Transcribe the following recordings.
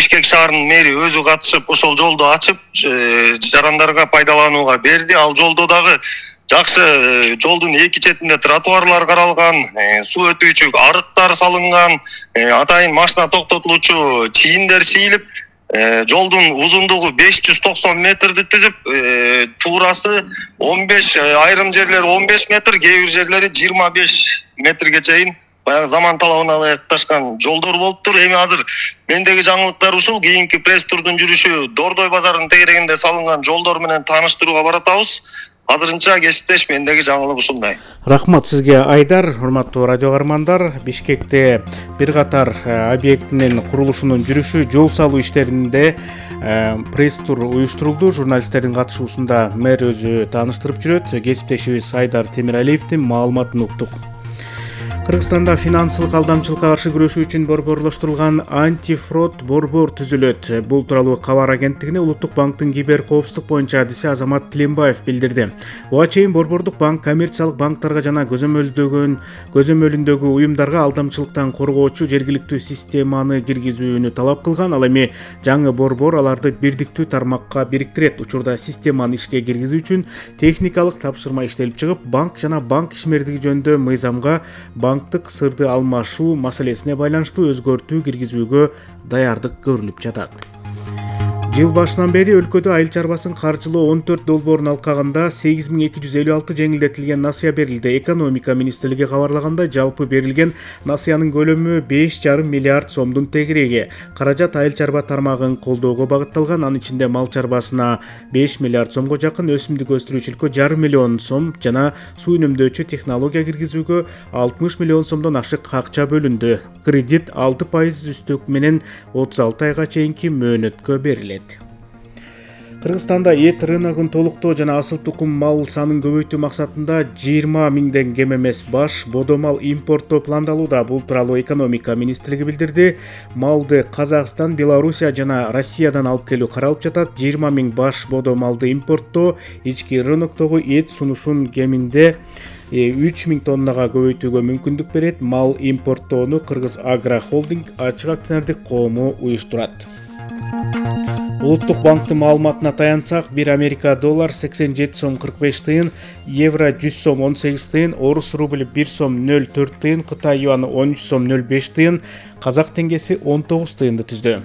Бишкек шаарынын мэри өзү катышып ошол жолду ачып жарандарга пайдаланууга берди. Ал жолдо дагы жакшы жолдун эки четинде тротуарлар каралган, суу өтүүчү арыктар салынган, атайын машина токтотулуучу чийиндер чийилип, жолдун узундугу 590 метрди түзүп, туурасы 15, айрым жерлери 15 метр, кээ бир жерлери 25 метрге чейин баягы заман талабына ылайыкташкан жолдор болуптур. Эми азыр мендеги жаңылыктар ушул. Кийинки пресс турдун жүрүшү Дордой базарынын тегерегинде салынган жолдор менен тааныштырууга баратабыз. Азырынча кесиптеш мендеги жаңылык ушундай. Рахмат сизге, Айдар. Урматтуу радио каармандар, Бишкекте бир катар объектинин курулушунун жүрүшү, жол салуу иштеринде пресс-тур уюштурулду. Журналисттердин катышуусунда мэр өзү тааныштырып жүрөт. Кесиптешибиз Айдар Темиралиевдин маалыматын уктук. Кыргызстанда финансылык алдамчылыкка каршы күрөшүү үчүн борборлоштурулган антифрод борбор түзүлөт. Бул тууралуу Кабар агенттигине Улуттук банктын кибер коопсуздук боюнча адиси Азамат Тилембаев билдирди. Буга чейин борбордук банк коммерциялык банктарга жана көзөмөлүндөгү уюмдарга алдамчылыктан коргоочу жергиликтүү системаны киргизүүнү талап кылган. Ал эми жаңы борбор аларды бирдиктүү тармакка бириктирет. Учурда системаны ишке киргизүү үчүн техникалык тапшырма иштелип чыгып, банк жана банк ишмердиги жөнүндө мыйзамга банктык сырды алмашуу маселесине байланыштуу өзгөртүү киргизүүгө даярдык көрүлүп жатат. Жыл башынан бери өлкөдө айыл чарбасын каржылоо 14 долбоорун алкагында 8256 жеңилдетилген насыя берилди. Экономика министрлиги кабарлагандай, жалпы берилген насыянын көлөмү 5,5 миллиард сомдун тегереги. Каражат айыл чарба тармагын колдоого багытталган. Анын ичинде мал чарбасына 5 миллиард сомго жакын, өсүмдүк өстүрүүчүлүккө 1,5 миллион сом жана суу үнөмдөөчү технология киргизүүгө 60 миллион сомдон ашык акча бөлүндү. Кредит 6% үстөк менен 36 айга чейинки мөөнөткө берилет. Кыргызстанда эт рыногун толуктоо жана асыл тукум мал санын көбөйтүү максатында 20 миңден кем эмес баш бодо мал импорттоо пландалууда. Бул тууралуу экономика министрлиги билдирди. Малды Казакстан, Белоруссия жана Россиядан алып келүү каралып жатат. 20 миң баш бодо малды импорттоо ички рыноктогу эт сунушун кеминде 3000 тоннага көбөйтүүгө мүмкүндүк берет. Мал импорттоону Кыргыз Агро Холдинг ачык акционердик коому уюштурат. Улуттук банктын маалыматына таянсак, 1 Америка доллар 87 сом 45 тыйын, евро 100 сом 18 тыйын, орус рубль 1 сом 04 тыйын, Кытай юаны 13 сом 05 тыйын, казак теңгеси 19 тыйынды түздү.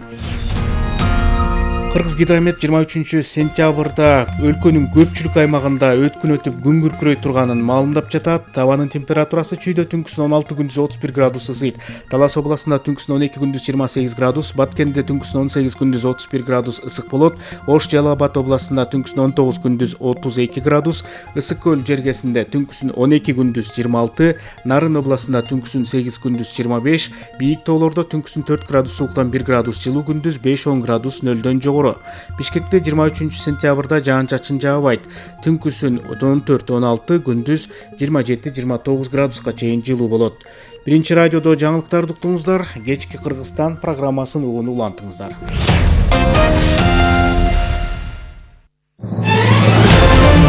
Кыргызгидромет 23 сентябрда өлкөнүн көпчүлүк аймагында өткүн өтүп күн күркүрөй турганын маалымдап жатат. Табанын температурасы чүйдө түнкүсүн 16 күндүз 31 градус ысыйт. Талас областында түнкүсүн 12 күндүз 28 градус, Баткенде түнкүсүн 18 күндүз 31 градус ысык болот. Ош Жалал Абад областында түнкүсүн 19 күндүз 32 градус, Ысык көл жергесинде түнкүсүн 12 күндүз 26, Нарын областында түнкүсүн 8 күндүз 25, бийик тоолордо түнкүсүн 4 градус сууктан 1 градус жылуу, күндүз 5-10 градус нөлдөн жогору. Бишкекте 23 сентябрда жаан-чачын жаабайт. Түнкүсүн 14-16, күндүз 27-29 градуска чейин жылуу болот. Биринчи радиодо жаңылыктарды уктуңуздар. Кечки Кыргызстан программасын угууну улантыңыздар.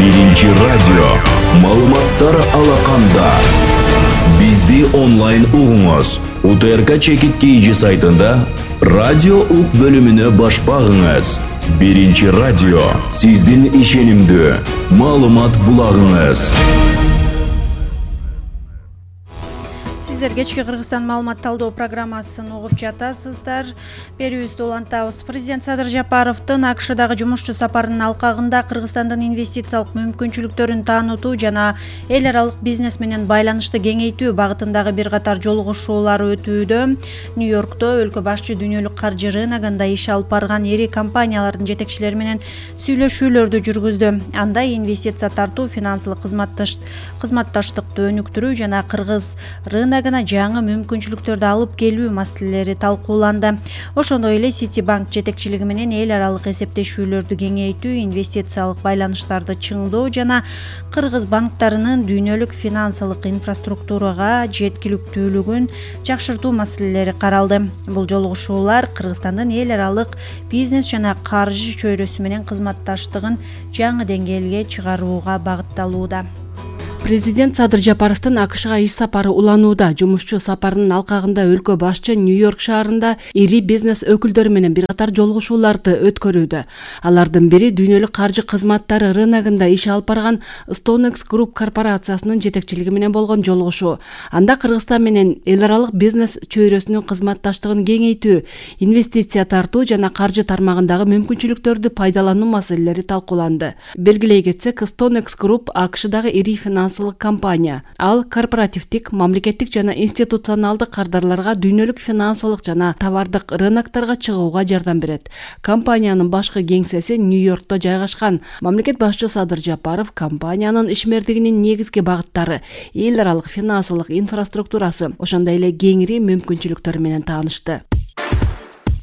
Биринчи радио маалыматтар алаканда. Бизди онлайн угуңуз. УТРК чекит KG сайтында радио ук бөлүмүнө баш багыңыз. Биринчи радио сиздин ишенимдүү маалымат булагыңыз. Сиздер кечки Кыргызстан маалымат талдоо программасын угуп жатасыздар. Берүүбүздү улантабыз. Президент Садыр Жапаровдун АКШдагы жумушчу сапарынын алкагында Кыргызстандын инвестициялык мүмкүнчүлүктөрүн таанытуу жана эл аралык бизнес менен байланышты кеңейтүү багытындагы бир катар жолугушуулар өтүүдө. Нью-Йоркто өлкө башчы дүйнөлүк каржы рыногунда иш алып барган ири компаниялардын жетекчилери менен сүйлөшүүлөрдү жүргүздү. Анда инвестиция тартуу, финансылык кызматташтыкты өнүктүрүү жана Кыргыз рыногуна жаңы мүмкүнчүлүктөрдү алып келүү маселелери талкууланды. Ошондой эле Citibank жетекчилиги менен эл аралык эсептешүүлөрдү кеңейтүү, инвестициялык байланыштарды чыңдоо жана кыргыз банктарынын дүйнөлүк финансылык инфраструктурага жеткиликтүүлүгүн жакшыртуу маселелери каралды. Бул жолугушуулар Кыргызстандын эл аралык бизнес жана каржы чөйрөсү менен кызматташтыгын жаңы деңгээлге чыгарууга багытталууда. Президент Садыр Жапаровдун АКШга иш сапары уланууда. Жумушчу сапарынын алкагында өлкө башчы Нью-Йорк шаарында ири бизнес өкүлдөрү менен бир катар жолугушууларды өткөрүүдө. Алардын бири дүйнөлүк каржы кызматтары рыногунда иш алып барган StoneX Group корпорациясынын жетекчилиги менен болгон жолугушуу. Анда Кыргызстан менен эл аралык бизнес чөйрөсүнүн кызматташтыгын кеңейтүү, инвестиция тартуу жана каржы тармагындагы мүмкүнчүлүктөрдү пайдалануу маселелери талкууланды. Белгилей кетсек, StoneX Group АКШдагы ири финансылык компания. Ал корпоративдик, мамлекеттик жана институционалдык кардарларга дүйнөлүк финансылык жана товардык рынокторго чыгууга жардам берет. Компаниянын башкы кеңсеси Нью-Йоркто жайгашкан. Мамлекет башчы Садыр Жапаров компаниянын ишмердигинин негизги багыттары, эл аралык финансылык инфраструктурасы, ошондой эле кеңири мүмкүнчүлүктөрү менен таанышты.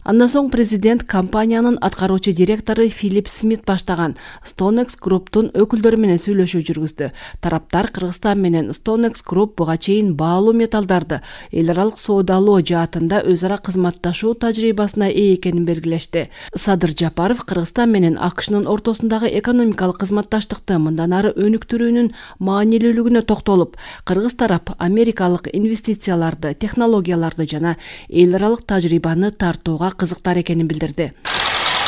Андан соң президент компаниянын аткаруучу директору Филипп Смит баштаган StoneX Group'тун өкүлдөрү менен сүйлөшүү жүргүздү. Тараптар Кыргызстан менен StoneX Group буга чейин баалуу металлдарды эл аралык соодалоо жаатында өз ара кызматташуу тажрыйбасына ээ экенин белгилешти. Садыр Жапаров Кыргызстан менен АКШнын ортосундагы экономикалык кызматташтыкты мындан ары өнүктүрүүнүн маанилүүлүгүнө токтолуп, кыргыз тарап америкалык инвестицияларды, технологияларды жана эл аралык тажрыйбаны тартууга кызыктар экенин билдирди.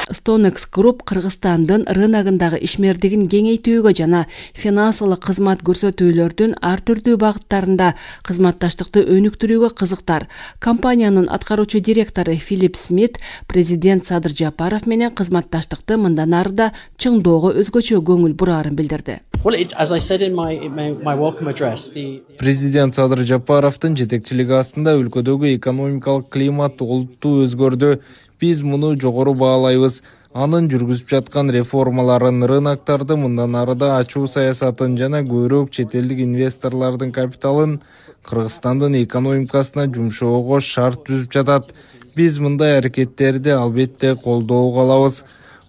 StoneX Group Кыргызстандын рыногундагы ишмердигин кеңейтүүгө жана финансылык кызмат көрсөтүүлөрдүн ар түрдүү багыттарында кызматташтыкты өнүктүрүүгө кызыктар. Компаниянын аткаруучу директору Филипп Смит президент Садыр Жапаров менен кызматташтыкты мындан ары да чыңдоого өзгөчө көңүл бураарын билдирди. Президент Садыр Жапаровдун жетекчилиги астында өлкөдөгү экономикалык климат олуттуу өзгөрдү. Биз муну жогору баалайбыз. Анын жүргүзүп жаткан реформаларын, рыноктарды мындан ары да ачуу саясатын жана көбүрөөк чет элдик инвесторлордун капиталын Кыргызстандын экономикасына жумшоого шарт түзүп жатат. Биз мындай аракеттерди албетте колдоого алабыз.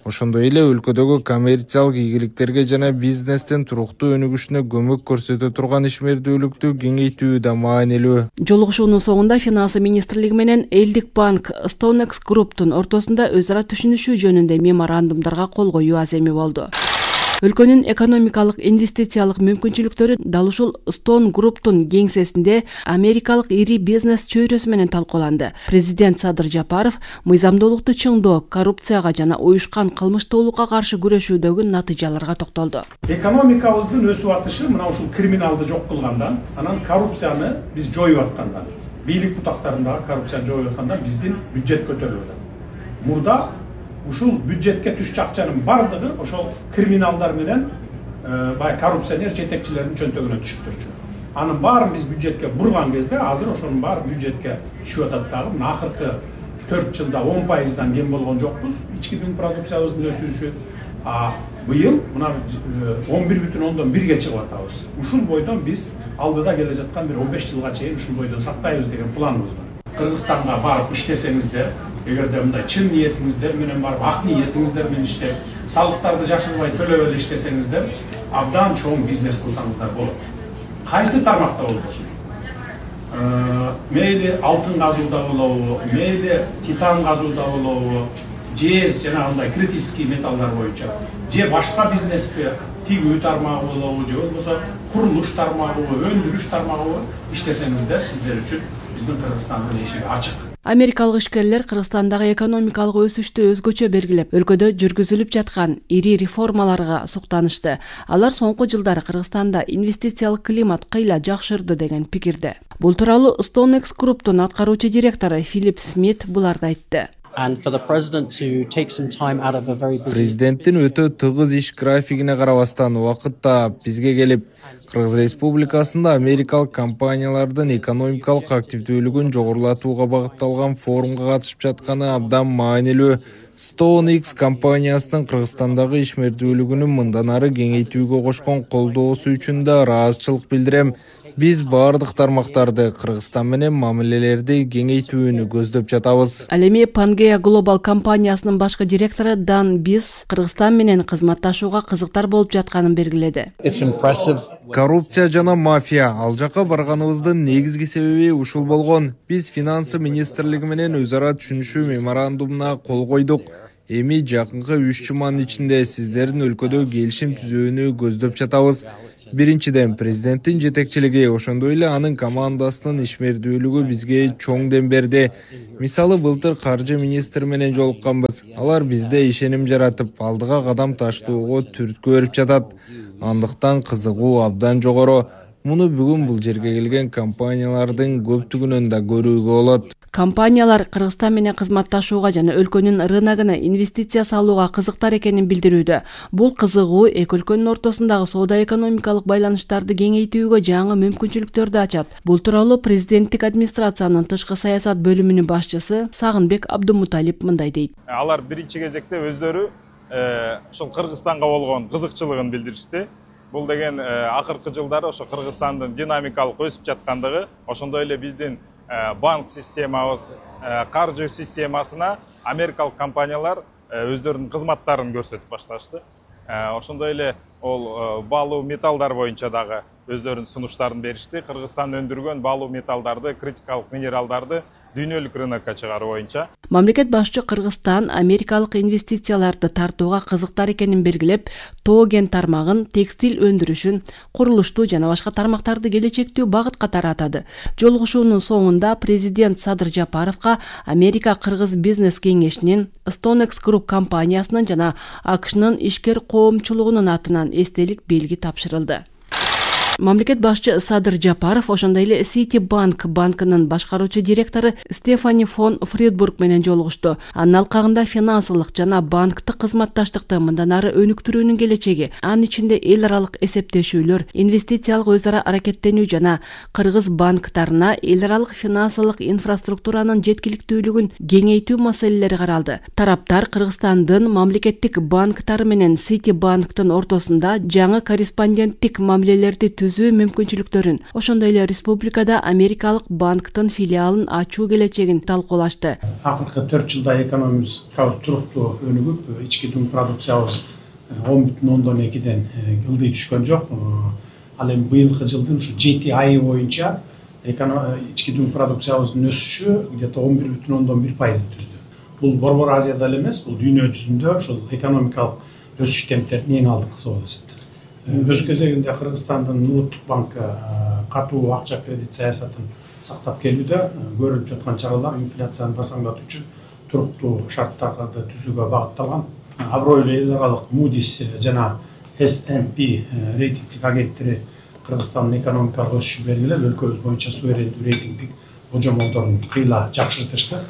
Ошондой эле өлкөдөгү коммерциялык ийгиликтерге жана бизнестин туруктуу өнүгүшүнө көмөк көрсөтө турган ишмердүүлүктү кеңейтүү да маанилүү. Жолугушуунун соңунда Финансы министрлиги менен Элдик банк StoneX Group'тун ортосунда өз ара түшүнүшүү жөнүндө меморандумдарга кол коюу аземи болду. Өлкөнүн экономикалык инвестициялык мүмкүнчүлүктөрү дал ушул Stone Group'тун кеңсесинде америкалык ири бизнес чөйрөсү менен талкууланды. Президент Садыр Жапаров мыйзамдуулукту чыңдоо, коррупцияга жана уюшкан кылмыштуулукка каршы күрөшүүдөгү натыйжаларга токтолду. Экономикабыздын өсүп атышы мына ушул криминалды жок кылгандан, анан коррупцияны биз жоюп аткандан, бийлик бутактарындагы коррупцияны жоюп аткандан биздин бюджет көтөрүлүп атат. Мурда ушул бюджетке түшчү акчанын бардыгы ошол криминалдар менен баягы коррупционер жетекчилердин чөнтөгүнө түшүп турчу. Анын баарын биз бюджетке бурган кезде азыр ошонун баары бюджетке түшүп атат дагы. Мына акыркы 4 жылда 10%дан кем болгон жокпуз. Ички дүң продукциябыздын өсүшү. Быйыл мына 11,1-ге чыгып атабыз. Ушул бойдон биз алдыда келе жаткан бир 15 жылга чейин ушул бойдон сактайбыз деген планыбыз бар. Кыргызстанга барып иштесеңиздер, эгерде мындай чын ниетиңиздер менен барып, ак ниетиңиздер менен иштеп, салыктарды жашырбай төлөп эле иштесеңиздер, абдан чоң бизнес кылсаңыздар болот. Кайсы тармакта болбосун? Мейли алтын казууда болобу, мейли титан казууда болобу, жез жана андай критический металлдар боюнча, же башка бизнеске тигүү тармагы болобу, же болбосо курулуш тармагы, өндүрүш тармагы иштесеңиздер, сиздер үчүн биздин Кыргызстандын эшиги ачык. Америкалык ишкерлер Кыргызстандагы экономикалык өсүштү өзгөчө белгилеп, өлкөдө жүргүзүлүп жаткан ири реформаларга суктанышты. Алар соңку жылдары Кыргызстанда инвестициялык климат кыйла жакшырды деген пикирде. Бул тууралуу StoneX Group'тун аткаруучу директору Филипп Смит буларды айтты. Президенттин өтө тыгыз иш графигине карабастан убакытта бизге келип, Кыргыз Республикасында америкалык компаниялардын экономикалык активдүүлүгүн жогорулатууга багытталган форумга катышып жатканы абдан маанилүү. StoneX компаниясынын Кыргызстандагы ишмердүүлүгүнүн мындан ары кеңейтүүгө кошкон колдоосу үчүн да ыраазычылык билдирем. Биз бардык тармактарды Кыргызстан менен мамилелерди кеңейтүүнү көздөп жатабыз. Ал эми Pangea Global компаниясынын башкы директору Дан Биз Кыргызстан менен кызматташууга кызыктар болуп жатканын белгиледи. Коррупция жана мафия ал жака барганыбыздын негизги себеби ушул болгон. Биз Финансы министрлиги менен өз ара түшүнүшүү меморандумуна кол койдук. Эми жакынкы 3 жуманын ичинде сиздердин өлкөдө келишим түзүүнү көздөп жатабыз. Биринчиден, президенттин жетекчилиги, ошондой эле анын командасынын ишмердүүлүгү бизге чоң дем берди. Мисалы, былтыр каржы министри менен жолукканбыз. Алар бизде ишеним жаратып, алдыга кадам таштоого түрткү берип жатат. Андыктан кызыгуу абдан жогору. Муну бүгүн бул жерге келген компаниялардын көптүгүнөн да көрүүгө болот. Компаниялар Кыргызстан менен кызматташууга жана өлкөнүн рыногуна инвестиция салууга кызыктар экенин билдирүүдө. Бул кызыгуу эки өлкөнүн ортосундагы соода-экономикалык байланыштарды кеңейтүүгө жаңы мүмкүнчүлүктөрдү ачат. Бул тууралуу президенттик администрациянын тышкы саясат бөлүмүнүн башчысы Сагынбек Абдумуталип мындай дейт. Алар биринчи кезекте өздөрү ошол Кыргызстанга болгон кызыкчылыгын билдиришти. Бул деген акыркы жылдары ошо Кыргызстандын динамикалык өсүп жаткандыгы, ошондой эле биздин банк системабыз, каржы системасына америкалык компаниялар өздөрүнүн кызматтарын көрсөтүп башташты. Ошондой эле ол баалуу металлдар боюнча дагы өздөрүнүн сунуштарын беришти. Кыргызстан өндүргөн баалуу металлдарды, критикалык минералдарды дүйнөлүк рынокко чыгаруу боюнча. Мамлекет башчы Кыргызстан америкалык инвестицияларды тартууга кызыктар экенин белгилеп, тоо кен тармагын, текстиль өндүрүшүн, курулушту жана башка тармактарды келечектүү багыт катары атады. Жолугушуунун соңунда президент Садыр Жапаровго Америка Кыргыз бизнес кеңешинин, Stonex Group компаниясынын жана АКШнын ишкер коомчулугунун атынан эстелик белги тапшырылды. Мамлекет башчы Садыр Жапаров ошондой эле Citibank банкынын башкаруучу директору Стефани фон Фридбург менен жолугушту. Анын алкагында финансылык жана банктык кызматташтыкты мындан ары өнүктүрүүнүн келечеги, анын ичинде эл аралык эсептешүүлөр, инвестициялык өз ара аракеттенүү жана кыргыз банктарына эл аралык финансылык инфраструктуранын жеткиликтүүлүгүн кеңейтүү маселелери каралды. Тараптар Кыргызстандын мамлекеттик банктары менен Citibanktын ортосунда жаңы корреспонденттик мамилелерди түзүү мүмкүнчүлүктөрүн, ошондой эле республикада америкалык банктын филиалын ачуу келечегин талкуулашты. Акыркы 4 жылда экономикабыз туруктуу өнүгүп, ички дүң продукциябыз 10,2-ден ылдый түшкөн жок. Ал эми быйылкы жылдын ушу 7 айы боюнча ички дүң продукциябыздын өсүшү где-то 11,1% түздү. Бул Борбор Азияда эле эмес, бул дүйнө жүзүндө ошол экономикалык өсүш темптеринин эң алдыңкысы болуп эсептелет. Өз кезегинде Кыргызстандын Улуттук банкы катуу акча кредит саясатын сактап келүүдө көрүлүп жаткан чаралар инфляцияны басаңдатуу үчүн туруктуу шарттарды түзүүгө багытталган. Абройлуу эл аралык Moody's жана S&P рейтингдик агенттери Кыргызстандын экономикалык өсүшүн белгилеп, өлкөбүз боюнча суверендүү рейтингдик божомолдорун кыйла жакшыртышты.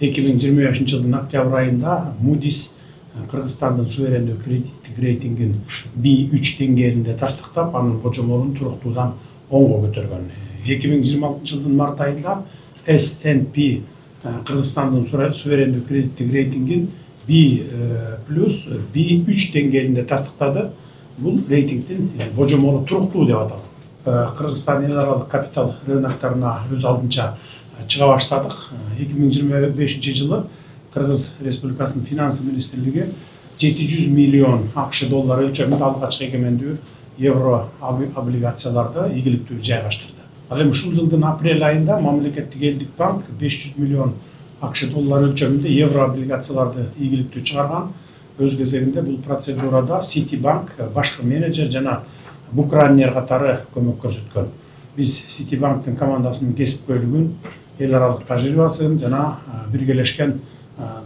2025 жылдын октябрь айында Moody's Кыргызстандын суверендүү кредиттик рейтингин B3 деңгээлинде тастыктап, анын божомолун туруктуудан 10го көтөргөн. 2026 жылдын март айында S&P Кыргызстандын суверендүү кредиттик рейтингин B+ B3 деңгээлинде тастыктады. Бул рейтингдин божомолу туруктуу деп аталат. Кыргызстан эл аралык капитал рыноктарына өз алдынча чыга баштадык. 2025 жылы Кыргыз Республикасынын финанс министрлиги 700 миллион АКШ доллар өлчөмүндө алгачкы эгемендүү евро облигацияларды ийгиликтүү жайгаштырды. Ал эми ушул жылдын апрель айында мамлекеттик элдик банк 500 миллион АКШ доллар өлчөмүндө евро облигацияларды ийгиликтүү чыгарган. Өз кезегинде бул процедурада Citibank башкы менеджер жана букранер катары көмөк көрсөткөн. Биз Citibanktын командасынын кесипкөйлүгүн, эл аралык тажрыйбасын жана биргелешкен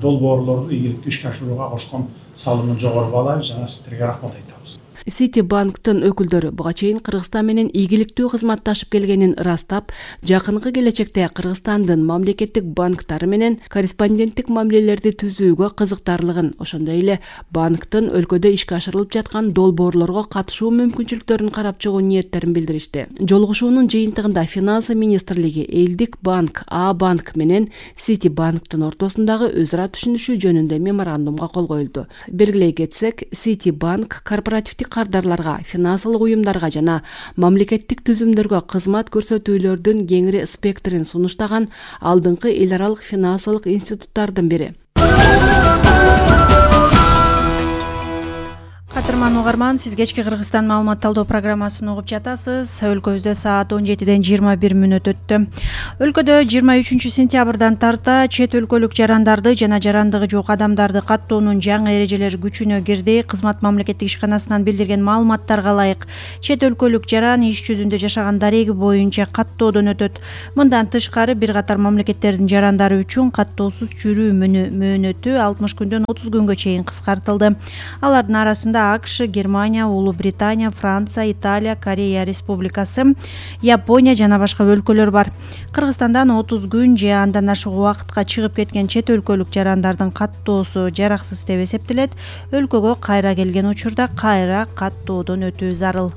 долбоорлорду ийгиликтүү ишке ашырууга кошкон салымын жогору баалайбыз жана сиздерге рахмат айтабыз. Citibanktын өкүлдөрү буга чейин Кыргызстан менен ийгиликтүү кызматташып келгенин ырастап, жакынкы келечекте Кыргызстандын мамлекеттик банктары менен корреспонденттик мамилелерди түзүүгө кызыктарлыгын, ошондой эле банктын өлкөдө ишке ашырылып жаткан долбоорлорго катышуу мүмкүнчүлүктөрүн карап чыгуу ниеттерин билдиришти. Жолугушуунун жыйынтыгында финансы министрлиги элдик банк А банк менен Citibanktын ортосундагы өз ара түшүнүшүү жөнүндө меморандумга кол коюлду. Белгилей кетсек, Citibank корпоративдик кардарларга, финансылык уюмдарга жана мамлекеттик түзүмдөргө кызмат көрсөтүүлөрдүн кеңири спектрин сунуштаган алдыңкы эл аралык финансылык институттардын бири. Катырман кутман угарман, сиз кечки Кыргызстан маалымат талдоо программасын угуп жатасыз. Өлкөбүздө саат 17:21 өттү. Өлкөдө 23 сентябрдан тарта чет өлкөлүк жарандарды жана жарандыгы жок адамдарды каттоонун жаңы эрежелери күчүнө кирди. Кызмат мамлекеттик ишканасынан билдирген маалыматтарга ылайык, чет өлкөлүк жаран иш жүзүндө жашаган дареги боюнча каттоодон өтөт. Мындан тышкары бир катар мамлекеттердин жарандары үчүн каттоосуз жүрүү мөөнөтү 60 күндөн 30 күнгө чейин кыскартылды. Алардын арасында АКШ, Германия, Улуу Британия, Франция, Италия, Корея Республикасы, Япония жана башка өлкөлөр бар. Кыргызстандан 30 күн же андан ашык убакытка чыгып кеткен чет өлкөлүк жарандардын каттоосу жараксыз деп эсептелет. Өлкөгө кайра келген учурда кайра каттоодон өтүү зарыл.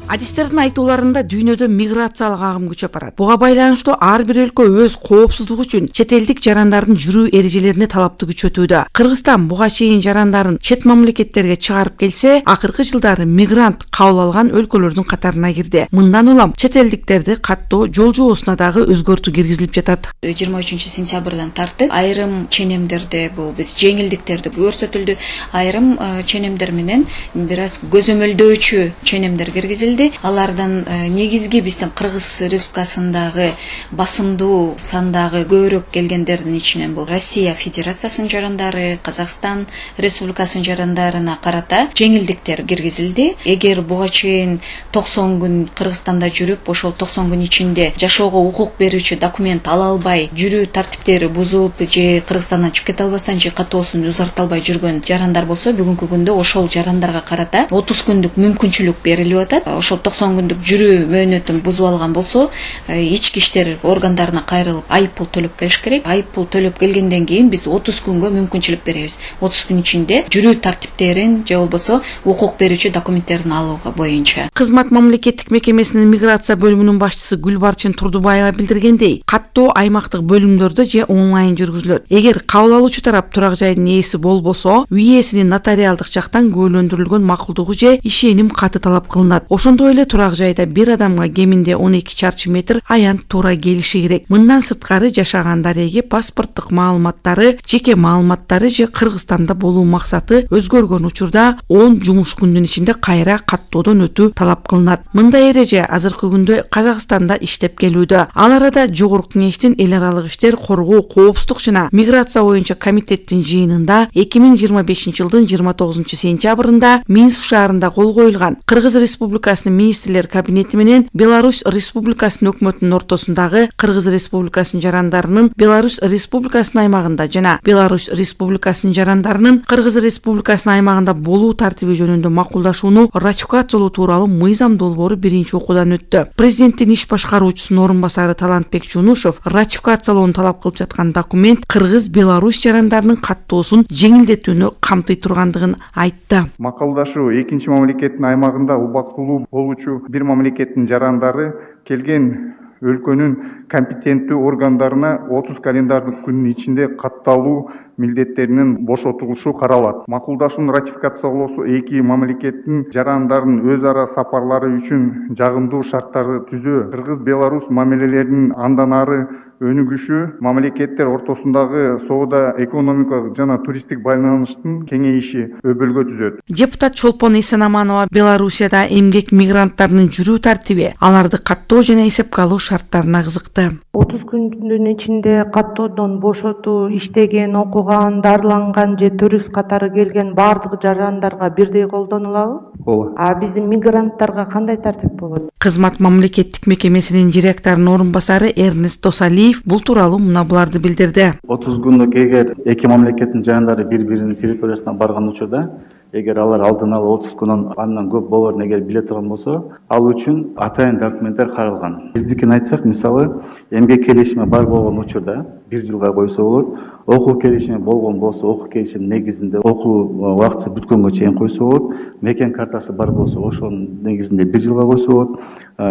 Адистердин айтууларында дүйнөдө миграциялык агым күчөп барат. Буга байланыштуу ар бир өлкө өз коопсуздугу үчүн чет элдик жарандардын жүрүү эрежелерине талапты күчөтүүдө. Кыргызстан буга чейин жарандарын чет мамлекеттерге чыгарып келсе, акыркы жылдары мигрант кабыл алган өлкөлөрдүн катарына кирди. Мындан улам чет элдиктерди каттоо жол жобосуна дагы өзгөртүү киргизилип жатат. 23 сентябрдан тартып айрым ченемдерде бул биз жеңилдиктерди көрсөтүлдү. Айрым ченемдер менен бир аз көзөмөлдөөчү ченемдер киргизилди. Алардын негизги биздин Кыргыз Республикасындагы басымдуу сандагы көбүрөөк келгендердин ичинен бул Россия Федерациясынын жарандары, Казакстан Республикасынын жарандарына карата жеңилдиктер киргизилди. Эгер буга чейин 90 күн Кыргызстанда жүрүп, ошол 90 күн ичинде жашоого укук берүүчү документ ала албай, жүрүү тартиптери бузулуп же Кыргызстандан чыгып кете албастан же каттоосун узарта албай жүргөн жарандар болсо, бүгүнкү күндө ошол жарандарга карата 30 күндүк мүмкүнчүлүк берилип атат. Ошол 90 күндүк жүрүү мөөнөтүн бузуп алган болсо, ички иштер органдарына кайрылып айыппул төлөп келиш керек. Айыппул төлөп келгенден кийин биз 30 күнгө мүмкүнчүлүк беребиз. 30 күн ичинде жүрүү тартиптерин же болбосо укук берүүчү документтерин алууга боюнча. Кызмат мамлекеттик мекемесинин миграция бөлүмүнүн башчысы Гүлбарчын Турдубаева билдиргендей, каттоо аймактык бөлүмдөрдө же онлайн жүргүзүлөт. Эгер кабыл алуучу тарап турак жайдын ээси болбосо, үй ээсинин нотариалдык жактан күбөлөндүрүлгөн макулдугу же ишеним каты талап кылынат. Ошондой эле турак жайда бир адамга кеминде 12 чарчы метр аянт туура келиши керек. Мындан сырткары жашаган дареги, паспорттук маалыматтары, жеке маалыматтары же Кыргызстанда болуу максаты өзгөргөн учурда 10 жумуш күнүнүн ичинде кайра каттоодон өтүү талап кылынат. Мындай эреже азыркы күндө Казакстанда иштеп келүүдө. Ал арада Жогорку Кеңештин эл аралык иштер, коргоо, коопсуздук жана миграция боюнча комитеттин жыйынында 2025 жылдын 29 сентябрында Минск шаарында кол коюлган Кыргыз Республикасынын министрлер кабинети менен Беларусь Республикасынын өкмөтүнүн ортосундагы Кыргыз Республикасынын жарандарынын Беларусь Республикасынын аймагында жана Беларусь Республикасынын жарандарынын Кыргыз Республикасынын аймагында болуу тартиби жөнүндө макулдашууну ратификациялоо тууралуу мыйзам долбоору биринчи окуудан өттү. Президенттин иш башкаруучусунун орун басары Талантбек Жунушев ратификациялоону талап кылып жаткан документ Кыргыз Беларусь жарандарынын каттоосун жеңилдетүүнү камтый тургандыгын айтты. Макулдашуу экинчи мамлекеттин аймагында убактылуу болуучу бир мамлекеттин жарандары келген өлкөнүн компетенттүү органдарына 30 календардык күнүн ичинде катталуу милдеттеринен бошотулушу каралат. Макулдашуунун ратификациялоосу эки мамлекеттин жарандарынын өз ара сапарлары үчүн жагымдуу шарттарды түзөө, Кыргыз-Беларусь мамилелеринин андан ары өнүгүшү, мамлекеттер ортосундагы соода, экономикалык жана туристтик байланыштын кеңейиши өбөлгө түзөт. Депутат Чолпон Эсенаманова Белоруссияда эмгек мигранттарынын жүрүү тартиби, аларды каттоо жана эсепке алуу шарттарына кызыкты. 30 күндүн ичинде каттоодон бошотуу, иштеген, окуган, дарыланган же турист катары келген баардык жарандарга бирдей колдонулабы? Ооба. А биздин мигранттарга кандай тартип болот? Кызмат мамлекеттик мекемесинин директорунун орун басары Эрнест Досалиев бул тууралуу мына буларды билдирди. 30 күндүк эгер эки мамлекеттин жарандары бири-биринин территориясына барган учурда, эгер алар алдын ала 30 күнөн андан көп болоорун эгер биле турган болсо, ал үчүн атайын документтер каралган. Биздикин айтсак, мисалы, эмгек келишими бар болгон учурда 1 жылга койсо болот. Окуу келишими болгон болсо, окуу келишим негизинде окуу убактысы бүткөнгө чейин койсо болот. Мекен картасы бар болсо, ошонун негизинде 1 жылга койсо болот.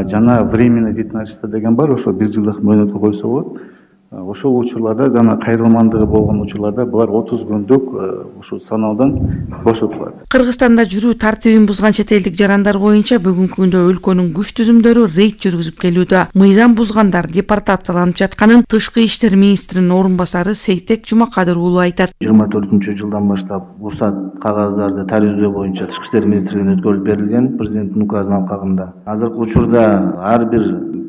Жана временный вид на жительство деген бар, ошо 1 жылдык мөөнөткө койсо болот. Ошол учурларда жана кайрылмандыгы болгон учурларда булар 30 күндүк ушул санаалдан бошотулат. Кыргызстанда жүрүү тартибин бузган чет элдик жарандар боюнча бүгүнкү күндө өлкөнүн күч түзүмдөрү рейд жүргүзүп келүүдө. Мыйзам бузгандар депортацияланып жатканын Тышкы иштер министринин орун басары Сейтек Жумакадыр уулу айтат. 24-жылдан баштап уруксат кагаздарды тарифдөө боюнча Тышкы иштер министрлигине өткөрүлүп берилген президенттин указынын алкагында. Азыркы учурда ар бир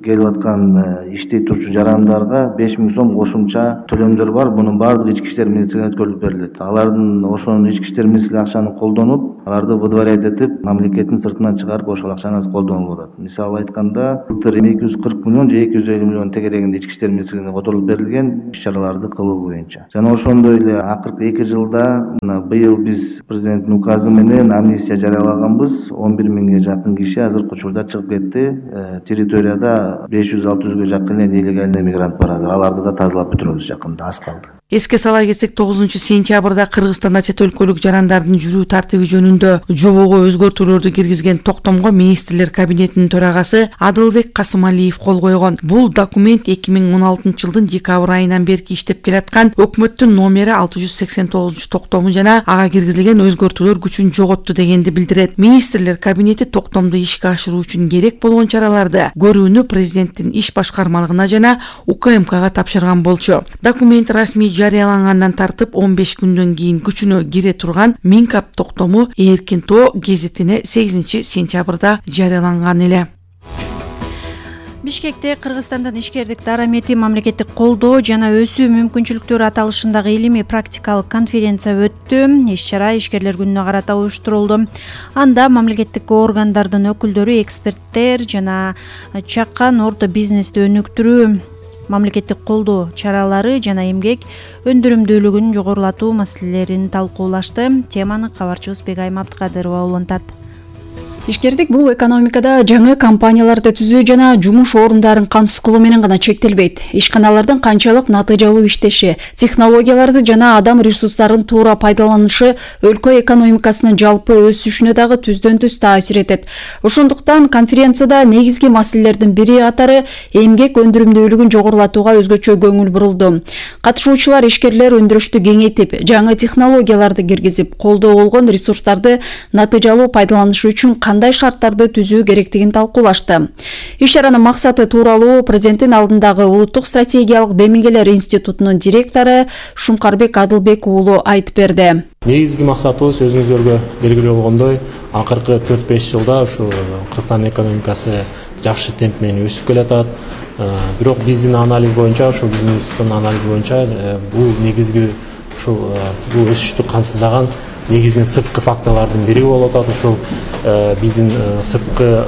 келип аткан иштей турчу жарандарга 5000 сом кошумча төлөмдөр бар. Мунун баардыгы ички иштер министрлигине өткөрүлүп берилет. Алардын ошонун ички иштер министрлиги акчаны колдонуп, аларды выдворять этип, мамлекеттин сыртынан чыгарып ошол акчаны колдонуп атат. Мисалы айтканда, былтыр 240 миллион же 250 миллион тегерегинде ички иштер министрлигине которулуп берилген иш-чараларды кылуу боюнча. Жана ошондой эле акыркы 2 жылда быйыл биз президенттин указы менен амнистия жарыялаганбыз. 11 миңге жакын киши азыркы учурда чыгып кетти. Территорияда 500-600ге жакын нелегальный мигрант бар. Аларды да тазалап бүтүрөбүз жакында, аз калды. Эске сала кетсек, 9-сентябрда Кыргызстанда чет өлкөлүк жарандардын жүрүү тартиби жөнүндө жобого өзгөртүүлөрдү киргизген токтомго министрлер кабинетинин төрагасы Адылбек Касымалиев кол койгон. Бул документ 2016-жылдын декабрь айынан берки иштеп келаткан өкмөттүн номери 689 жана ага киргизилген өзгөртүүлөр күчүн жоготту дегенди билдирет. Министрлер кабинети токтомду ишке ашыруу үчүн керек болгон чараларды көрүүнү президенттин иш башкармалыгына жана УКМКга тапшырган болчу. Документ расмий жарыялангандан тартып 15 күндөн кийин күчүнө кире турган Минкап токтому Эркин Тоо гезитине 8-сентябрда жарыяланган эле. Бишкекте Кыргызстандын ишкердик дарамети, мамлекеттик колдоо жана өсүү мүмкүнчүлүктөрү аталышындагы илимий практикалык конференция өттү. Иш-чара ишкерлер күнүнө карата уюштурулду. Анда мамлекеттик органдардын өкүлдөрү, эксперттер жана чакан орто бизнести өнүктүрүү, мамлекеттик колдоо чаралары жана эмгек өндүрүмдүүлүгүн жогорулатуу маселелерин талкуулашты. Теманы кабарчыбыз Бегайым Абдыкадырова улантат. Ишкердик бул экономикада жаңы компанияларды түзүү жана жумуш орундарын камсыз кылуу менен гана чектелбейт. Ишканалардын канчалык натыйжалуу иштеши, технологияларды жана адам ресурстарын туура пайдаланышы өлкө экономикасынын жалпы өсүшүнө дагы түздөн-түз таасир этет. Ошондуктан конференцияда негизги маселелердин бири катары эмгек өндүрүмдүүлүгүн жогорулатууга өзгөчө көңүл бурулду. Катышуучулар ишкерлер өндүрүштү кеңейтип, жаңы технологияларды киргизип, колдоо болгон ресурстарды натыйжалуу пайдаланышы үчүн кандай шарттарды түзүү керектигин талкуулашты. Иш-чаранын максаты тууралуу президенттин алдындагы Улуттук стратегиялык демилгелер институтунун директору Шумкарбек Адылбек уулу айтып берди. Негизги максатыбыз өзүңүздөргө белгилүү болгондой, акыркы 4-5 жылда ушу Кыргызстан экономикасы жакшы темп менен өсүп келатат. Бирок биздин анализ боюнча, ушу биздин институттун анализи боюнча, бул негизги ушу бул өсүштү камсыздаган негизинен сырткы факторлордун бири болуп атат. Ушул биздин сырткы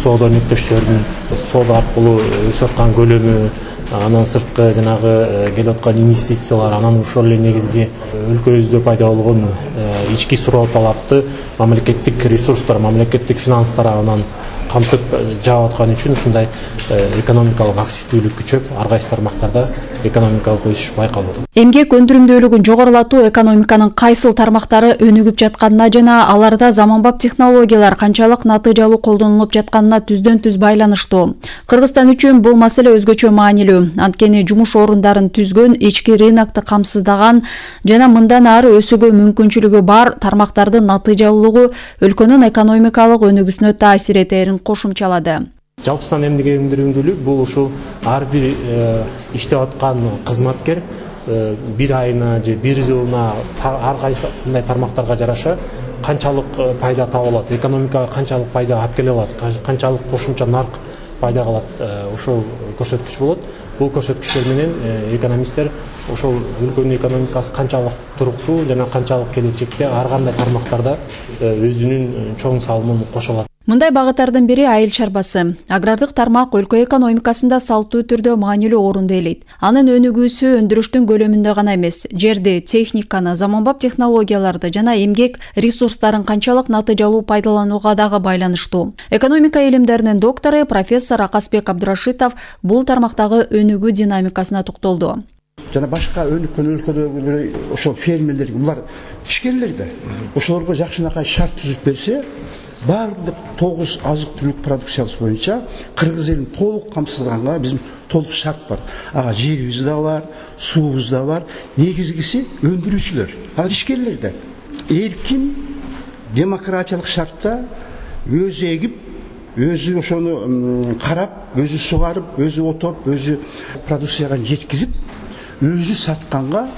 соода өнөктөштөрүнүн соода аркылуу өсүп аткан көлөмү, анан сырткы жанагы келип аткан инвестициялар, анан ошол эле негизги өлкөбүздө пайда болгон ички суроо талапты мамлекеттик ресурстар, мамлекеттик финанстар анан камтып жаап аткан үчүн ушундай экономикалык активдүүлүк күчөп, ар кайсы тармактарда экономикалык өсүш байкалып атат. Эмгек өндүрүмдүүлүгүн жогорулатуу экономиканын кайсыл тармактары өнүгүп жатканына жана аларда заманбап технологиялар канчалык натыйжалуу колдонулуп жатканына түздөн-түз байланыштуу. Кыргызстан үчүн бул маселе өзгөчө маанилүү. Анткени жумуш орундарын түзгөн, ички рынокты камсыздаган жана мындан ары өсүүгө мүмкүнчүлүгү бар тармактардын натыйжалуулугу өлкөнүн экономикалык өнүгүүсүнө таасир этерин кошумчалады. Жалпысынан эмгек өндүрүмдүүлүк бул ушул ар бир иштеп аткан кызматкер бир айына же бир жылына ар кайсы мындай тармактарга жараша канчалык пайда таба алат, экономикага канчалык пайда алып келе алат, канчалык кошумча нарк пайда калат, ошол көрсөткүч болот. Бул көрсөткүчтөр менен экономисттер ошол өлкөнүн экономикасы канчалык туруктуу жана канчалык келечекте ар кандай тармактарда өзүнүн чоң салымын кошо алат. Мындай багыттардын бири айыл чарбасы. Агрардык тармак өлкө экономикасында салттуу түрдө маанилүү орунду ээлейт. Анын өнүгүүсү өндүрүштүн көлөмүндө гана эмес, жерди, техниканы, заманбап технологияларды жана эмгек ресурстарын канчалык натыйжалуу пайдаланууга дагы байланыштуу. Экономика илимдеринин доктору профессор Акасбек Абдурашитов бул тармактагы өнүгүү динамикасына токтолду. Жана башка өнүккөн өлкөдөгү ошол фермерлер, булар ишкерлер да. Ошолорго жакшынакай шарт түзүп берсе, барлық 9 азық-түлүк продукциясы боюнча Кыргыз элин толук камсыздыганга биздин толук шарт бар. Ага жерибиз да бар, суубуз да бар. Негизгиси өндүрүүчүлөр, ал ишкерлер да эркин демократиялык шартта өзү эгип, өзү ошону карап, өзү сугарып, өзү отоп, өзү продукцияга жеткизип, өзү сатканга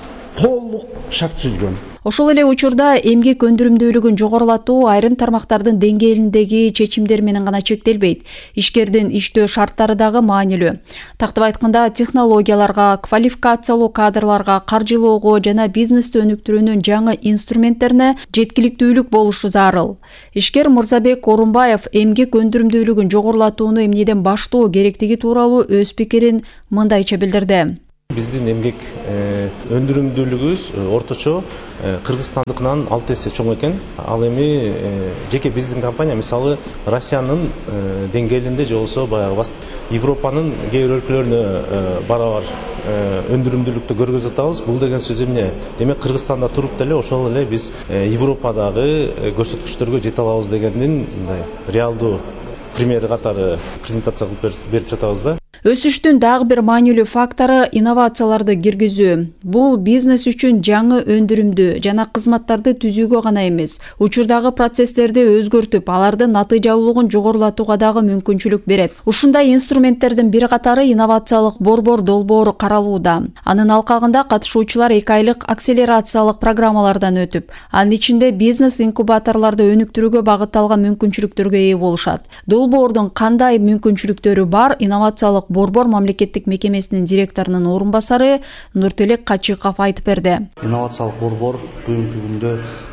толук шарт түзүлгөн. Ошол эле учурда эмгек өндүрүмдүүлүгүн жогорулатуу айрым тармактардын деңгээлиндеги чечимдер менен гана чектелбейт. Ишкердин иштөө шарттары дагы маанилүү. Тактап айтканда, технологияларга, квалификациялуу кадрларга, каржылоого жана бизнести өнүктүрүүнүн жаңы инструменттерине жеткиликтүүлүк болушу зарыл. Ишкер Мырзабек Орунбаев эмгек өндүрүмдүүлүгүн жогорулатууну эмнеден баштоо керектиги тууралуу өз пикирин мындайча билдирди. Биздин эмгек өндүрүмдүүлүгүбүз орточо Кыргызстандыкынан 6 эсе чоң экен. Ал эми жеке биздин компания мисалы Россиянын деңгээлинде же болбосо баягы Европанын кээ бир өлкөлөрүнө барабар өндүрүмдүүлүктү көргөзүп атабыз. Бул деген сөз эмне? Демек Кыргызстанда туруп деле ошол эле биз Европадагы көрсөткүчтөргө жете алабыз дегендин мындай реалдуу примери катары презентация кылып берип жатабыз да. Өсүштүн дагы бир маанилүү фактору инновацияларды киргизүү. Бул бизнес үчүн жаңы өндүрүмдү жана кызматтарды түзүүгө гана эмес, учурдагы процесстерди өзгөртүп, алардын натыйжалуулугун жогорулатууга дагы мүмкүнчүлүк берет. Ушундай инструменттердин бир катары инновациялык борбор долбоору каралууда. Анын алкагында катышуучулар 2 айлык акселерациялык программалардан өтүп, анын ичинде бизнес инкубаторлорду өнүктүрүүгө багытталган мүмкүнчүлүктөргө ээ болушат. Долбоордун кандай мүмкүнчүлүктөрү бар? Инновациялык борбор мамлекеттик мекемесинин директорунун орун басары Нуртелек Качыков айтып берди. Инновациялык борбор бүгүнкү күндө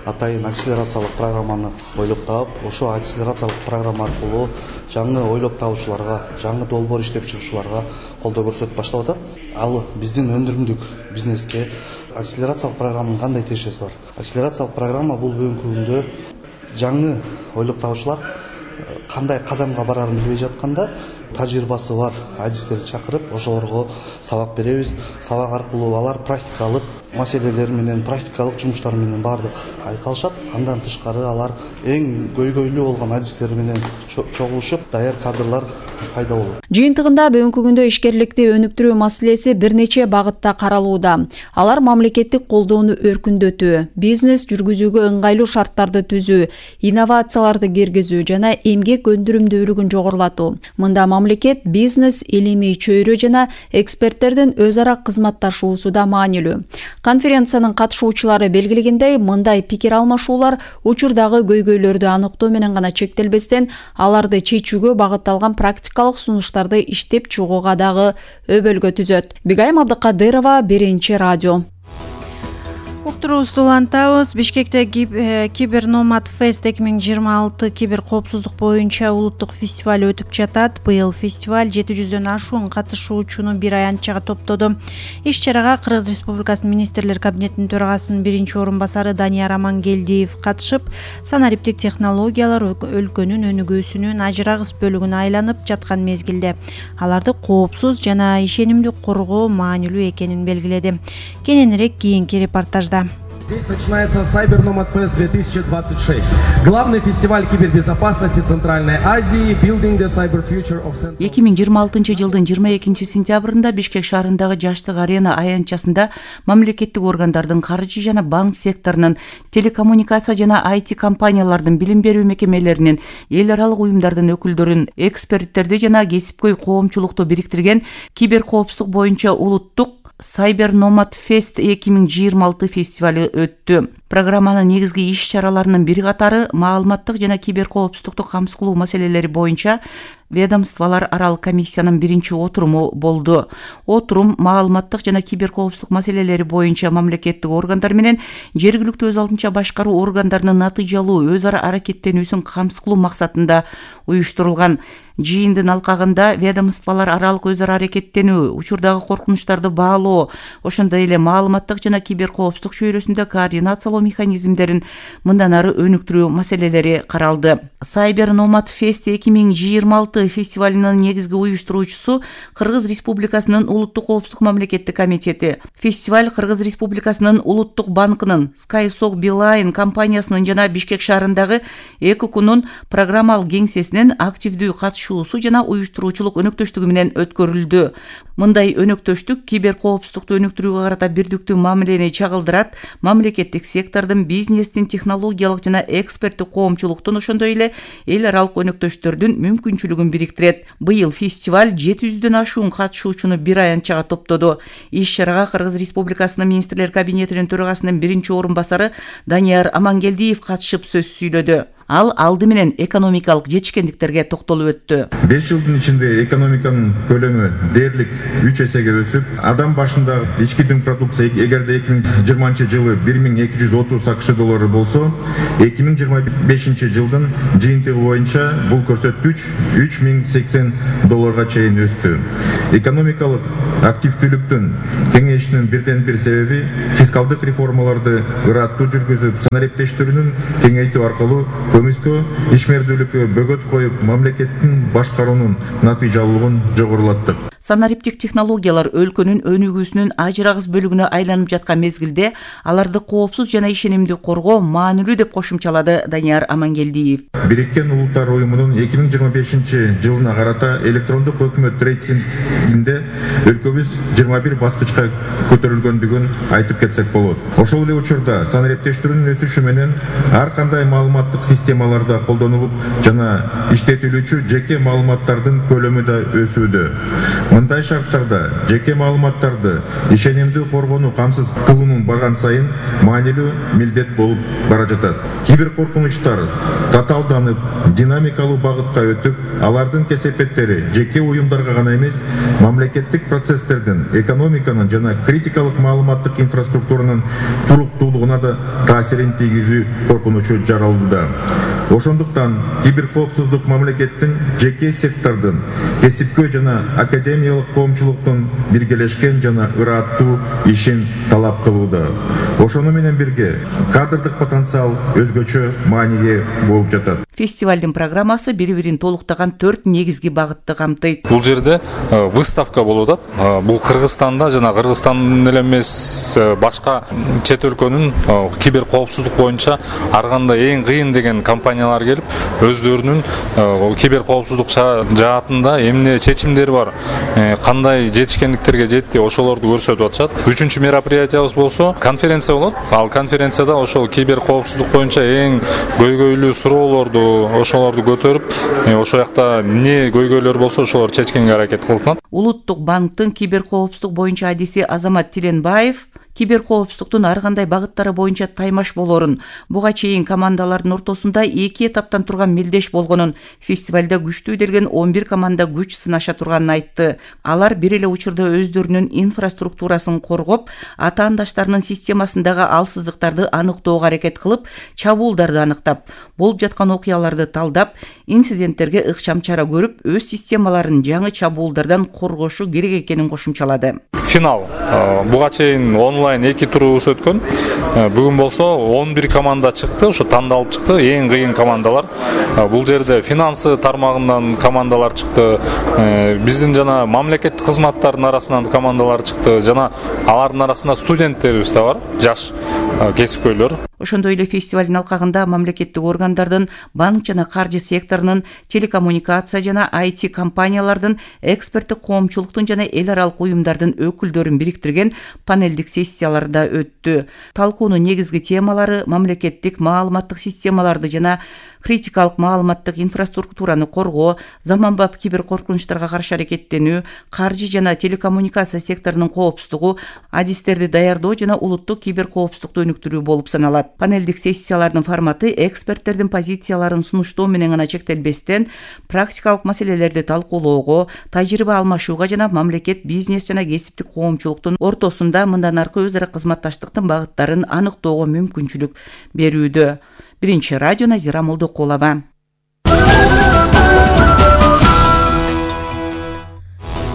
атайын акселерациялык программаны ойлоп таап, ошо акселерациялык программа аркылуу жаңы ойлоп табуучуларга, жаңы долбоор иштеп чыгуучуларга колдоо көрсөтүп баштап атат. Ал биздин өндүрүмдүк бизнеске акселерациялык программанын кандай тиешеси бар? Акселерациялык программа бул бүгүнкү күндө жаңы ойлоп табуучулар кандай кадамга барарын билбей жатканда тажрыйбасы бар адистерди чакырып, ошолорго сабак беребиз. Сабак аркылуу алар практикалык маселелер менен, практикалык жумуштар менен бардык айкалышат. Андан тышкары алар эң көйгөйлүү болгон адистер менен чогулушуп, даяр кадрлар пайда болот. Жыйынтыгында бүгүнкү күндө ишкерликти өнүктүрүү маселеси бир нече багытта каралууда. Алар мамлекеттик колдоону өркүндөтүү, бизнес жүргүзүүгө ыңгайлуу шарттарды түзүү, инновацияларды киргизүү жана эмгек өндүрүмдүүлүгүн жогорулатуу. Мында мамлекет, бизнес, илимий чөйрө жана эксперттердин өз ара кызматташуусу да маанилүү. Конференциянын катышуучулары белгилегендей, мындай пикир алмашуулар учурдагы көйгөйлөрдү аныктоо менен гана чектелбестен, аларды чечүүгө багытталган практикалык сунуштарды иштеп чыгууга дагы өбөлгө түзөт. Бигайым Абдыкадырова, Биринчи радио. Уктуруубузду улантабыз. Бишкекте Кибер Номад Фест 2026 кибер коопсуздук боюнча улуттук фестиваль өтүп жатат. Быйыл фестиваль 700дөн ашуун катышуучуну бир аянтчага топтоду. Иш-чарага Кыргыз Республикасынын министрлер кабинетинин төрагасынын биринчи орун басары Данияр Амангелдиев катышып, санариптик технологиялар өлкөнүн өнүгүүсүнүн ажырагыс бөлүгүнө айланып жаткан мезгилде аларды коопсуз жана ишенимдүү коргоо маанилүү экенин белгиледи. Кененирээк кийинки репортажда. Здесь начинается Cyber Nomad Fest 2026. Главный фестиваль кибербезопасности Центральной Азии Building the Cyber Future of Central. 2026 жылдын 22 сентябрында Бишкек шаарындагы Жаштык арена аянтчасында мамлекеттик органдардын, каржы жана банк секторунун, телекоммуникация жана IT компаниялардын, билим берүү мекемелеринин, эл аралык уюмдардын өкүлдөрүн, эксперттерди жана кесипкөй коомчулукту бириктирген кибер коопсуздук боюнча улуттук Cyber Nomad Fest 2026 фестивалы өттү. Программанын негизги иш-чараларынын бири катары маалыматтык жана кибер коопсуздукту камсыз кылуу маселелери боюнча ведомстволор аралык комиссиянын биринчи отуруму болду. Отурум маалыматтык жана кибер коопсуздук маселелери боюнча мамлекеттик органдар менен жергиликтүү өз алдынча башкаруу органдарынын натыйжалуу өз ара аракеттенүүсүн камсыз кылуу максатында уюштурулган. Жыйындын алкагында ведомстволор аралык өз ара аракеттенүү, учурдагы коркунучтарды баалоо, ошондой эле маалыматтык жана кибер коопсуздук чөйрөсүндө координациялоо механизмдерин мындан ары өнүктүрүү маселелери каралды. Cyber Nomad Fest 2026 6 фестивалынын негизги уюштуруучусу Кыргыз Республикасынын Улуттук коопсуздук мамлекеттик комитети. Фестиваль Кыргыз Республикасынын Улуттук банкынын, SkySoc Beeline компаниясынын жана Бишкек шаарындагы 2 күнүн программалык кеңсесинин активдүү катышуусу жана уюштуруучулук өнөктөштүгү менен өткөрүлдү. Мындай өнөктөштүк кибер коопсуздукту өнүктүрүүгө карата бирдиктүү мамилени чагылдырат, мамлекеттик сектордун, бизнестин, технологиялык жана эксперттик коомчулуктун, ошондой эле эл аралык өнөктөштөрдүн мүмкүнчүлүгүн бириктирет. Быйыл фестиваль 700дөн ашуун катышуучуну бир аянтчага топтоду. Иш-чарага Кыргыз Республикасынын министрлер кабинетинин төрагасынын биринчи орун басары Данияр Амангелдиев катышып сөз сүйлөдү. Ал алды менен экономикалык жетишкендиктерге токтолуп өттү. 5 жылдын ичинде экономиканын көлөмү дээрлик 3 эсеге өсүп, адам башында ички дүң продукция эгерде 2020 жылы 1230 АКШ доллары болсо, 2025 жылдын жыйынтыгы боюнча бул көрсөткүч 3080 долларга чейин өстү. Экономикалык активдүүлүктүн кеңейишинин бирден бир себеби фискалдык реформаларды ыраттуу жүргүзүп, санариптештирүүнүн кеңейтүү аркылуу көмүскө ишмердүүлүккө бөгөт коюп, мамлекеттин башкаруунун натыйжалуулугун жогорулаттык. Санариптик технологиялар өлкөнүн өнүгүүсүнүн ажырагыс бөлүгүнө айланып жаткан мезгилде аларды коопсуз жана ишенимдүү коргоо маанилүү деп кошумчалады Данияр Амангелдиев. Бириккен Улуттар уюмунун 2025 жылына карата электрондук өкмөт рейтингинде өлкөбүз 21 баскычка көтөрүлгөндүгүн айтып кетсек болот. Ошол эле учурда санариптештирүүнүн өсүшү менен ар кандай маалыматтык системаларда колдонулуп жана иштетилүүчү жеке маалыматтардын көлөмү да өсүүдө. Мындай шарттарда жеке маалыматтарды ишенимдүү коргоону камсыз кылуунун барган сайын маанилүү милдет болуп бара жатат. Кибер коркунучтар татаалданып, динамикалуу багытка өтүп, алардын кесепеттери жеке уюмдарга гана эмес, мамлекеттик процесстердин, экономиканын жана критикалык маалыматтык инфраструктуранын туруктуулугуна да таасирин тийгизүү коркунучу жаралууда. Ошондуктан киберкоопсуздук мамлекеттин, жеке сектордун, кесипкөй жана академиялык коомчулуктун биргелешкен жана ыраттуу ишин талап кылууда. Ошону менен бирге кадрдык потенциал өзгөчө мааниге болуп жатат. Фестивалдын программасы бири-бирин толуктаган 4 негизги багытты камтыйт. Бул жерде выставка болуп атат. Бул Кыргызстанда жана Кыргызстан эле эмес, башка чет өлкөнүн кибер коопсуздук боюнча ар кандай эң кыйын деген компаниялар келип, өздөрүнүн кибер коопсуздук жаатында эмне чечимдери бар, кандай жетишкендиктерге жетти, ошолорду көрсөтүп атышат. 3-чү мероприятиябыз болсо конференция болот. Ал конференцияда ошол кибер коопсуздук боюнча эң көйгөйлүү суроолорду, ошолорду көтөрүп, ошол жакта эмне көйгөйлөр болсо ошолорду чечкенге аракет кылынат. Улуттук банктын кибер коопсуздук боюнча адиси Азамат Тиленбаев кибер коопсуздуктун ар кандай багыттары боюнча таймаш болорун, буга чейин командалардын ортосунда 2 этаптан турган мелдеш болгонун, фестивалда күчтүү делген 11 команда күч сынаша турганын айтты. Алар бир эле учурда өздөрүнүн инфраструктурасын коргоп, атаандаштарынын системасындагы алсыздыктарды аныктоого аракет кылып, чабуулдарды аныктап, болуп жаткан окуяларды талдап, инциденттерге ыкчам чара көрүп, өз системаларын жаңы чабуулдардан коргошу керек экенин кошумчалады. Финал. Буга чейин онлайн 2 турубуз өткөн. Бүгүн болсо 11 команда чыкты, ошо тандалып чыкты, эң кыйын командалар. Бул жерде финансы тармагынан командалар чыкты. Биздин жана мамлекеттик кызматтардын арасынан командалар чыкты, жана алардын арасында студенттерибиз да бар, жаш кесипкөйлөр. Ошондой эле фестивалдын алкагында мамлекеттик органдардын, банк жана каржы секторунун, телекоммуникация жана IT компаниялардын, эксперттик коомчулуктун жана эл аралык уюмдардын өкүлдөрүн бириктирген панелдик сессиялар да өттү. Талкуунун негизги темалары мамлекеттик маалыматтык системаларды жана критикалык маалыматтык инфраструктураны коргоо, заманбап кибер коркунучтарга каршы аракеттенүү, каржы жана телекоммуникация секторунун коопсуздугу, адистерди даярдоо жана улуттук кибер коопсуздукту өнүктүрүү болуп саналат. Панелдик сессиялардын форматы эксперттердин позицияларын сунуштоо менен гана чектелбестен, практикалык маселелерди талкуулоого, тажрыйба алмашууга жана мамлекет, бизнес жана кесиптик коомчулуктун ортосунда мындан аркы өз ара кызматташтыктын багыттарын аныктоого мүмкүнчүлүк берүүдө. Биринчи радио, Назира Молдокулова.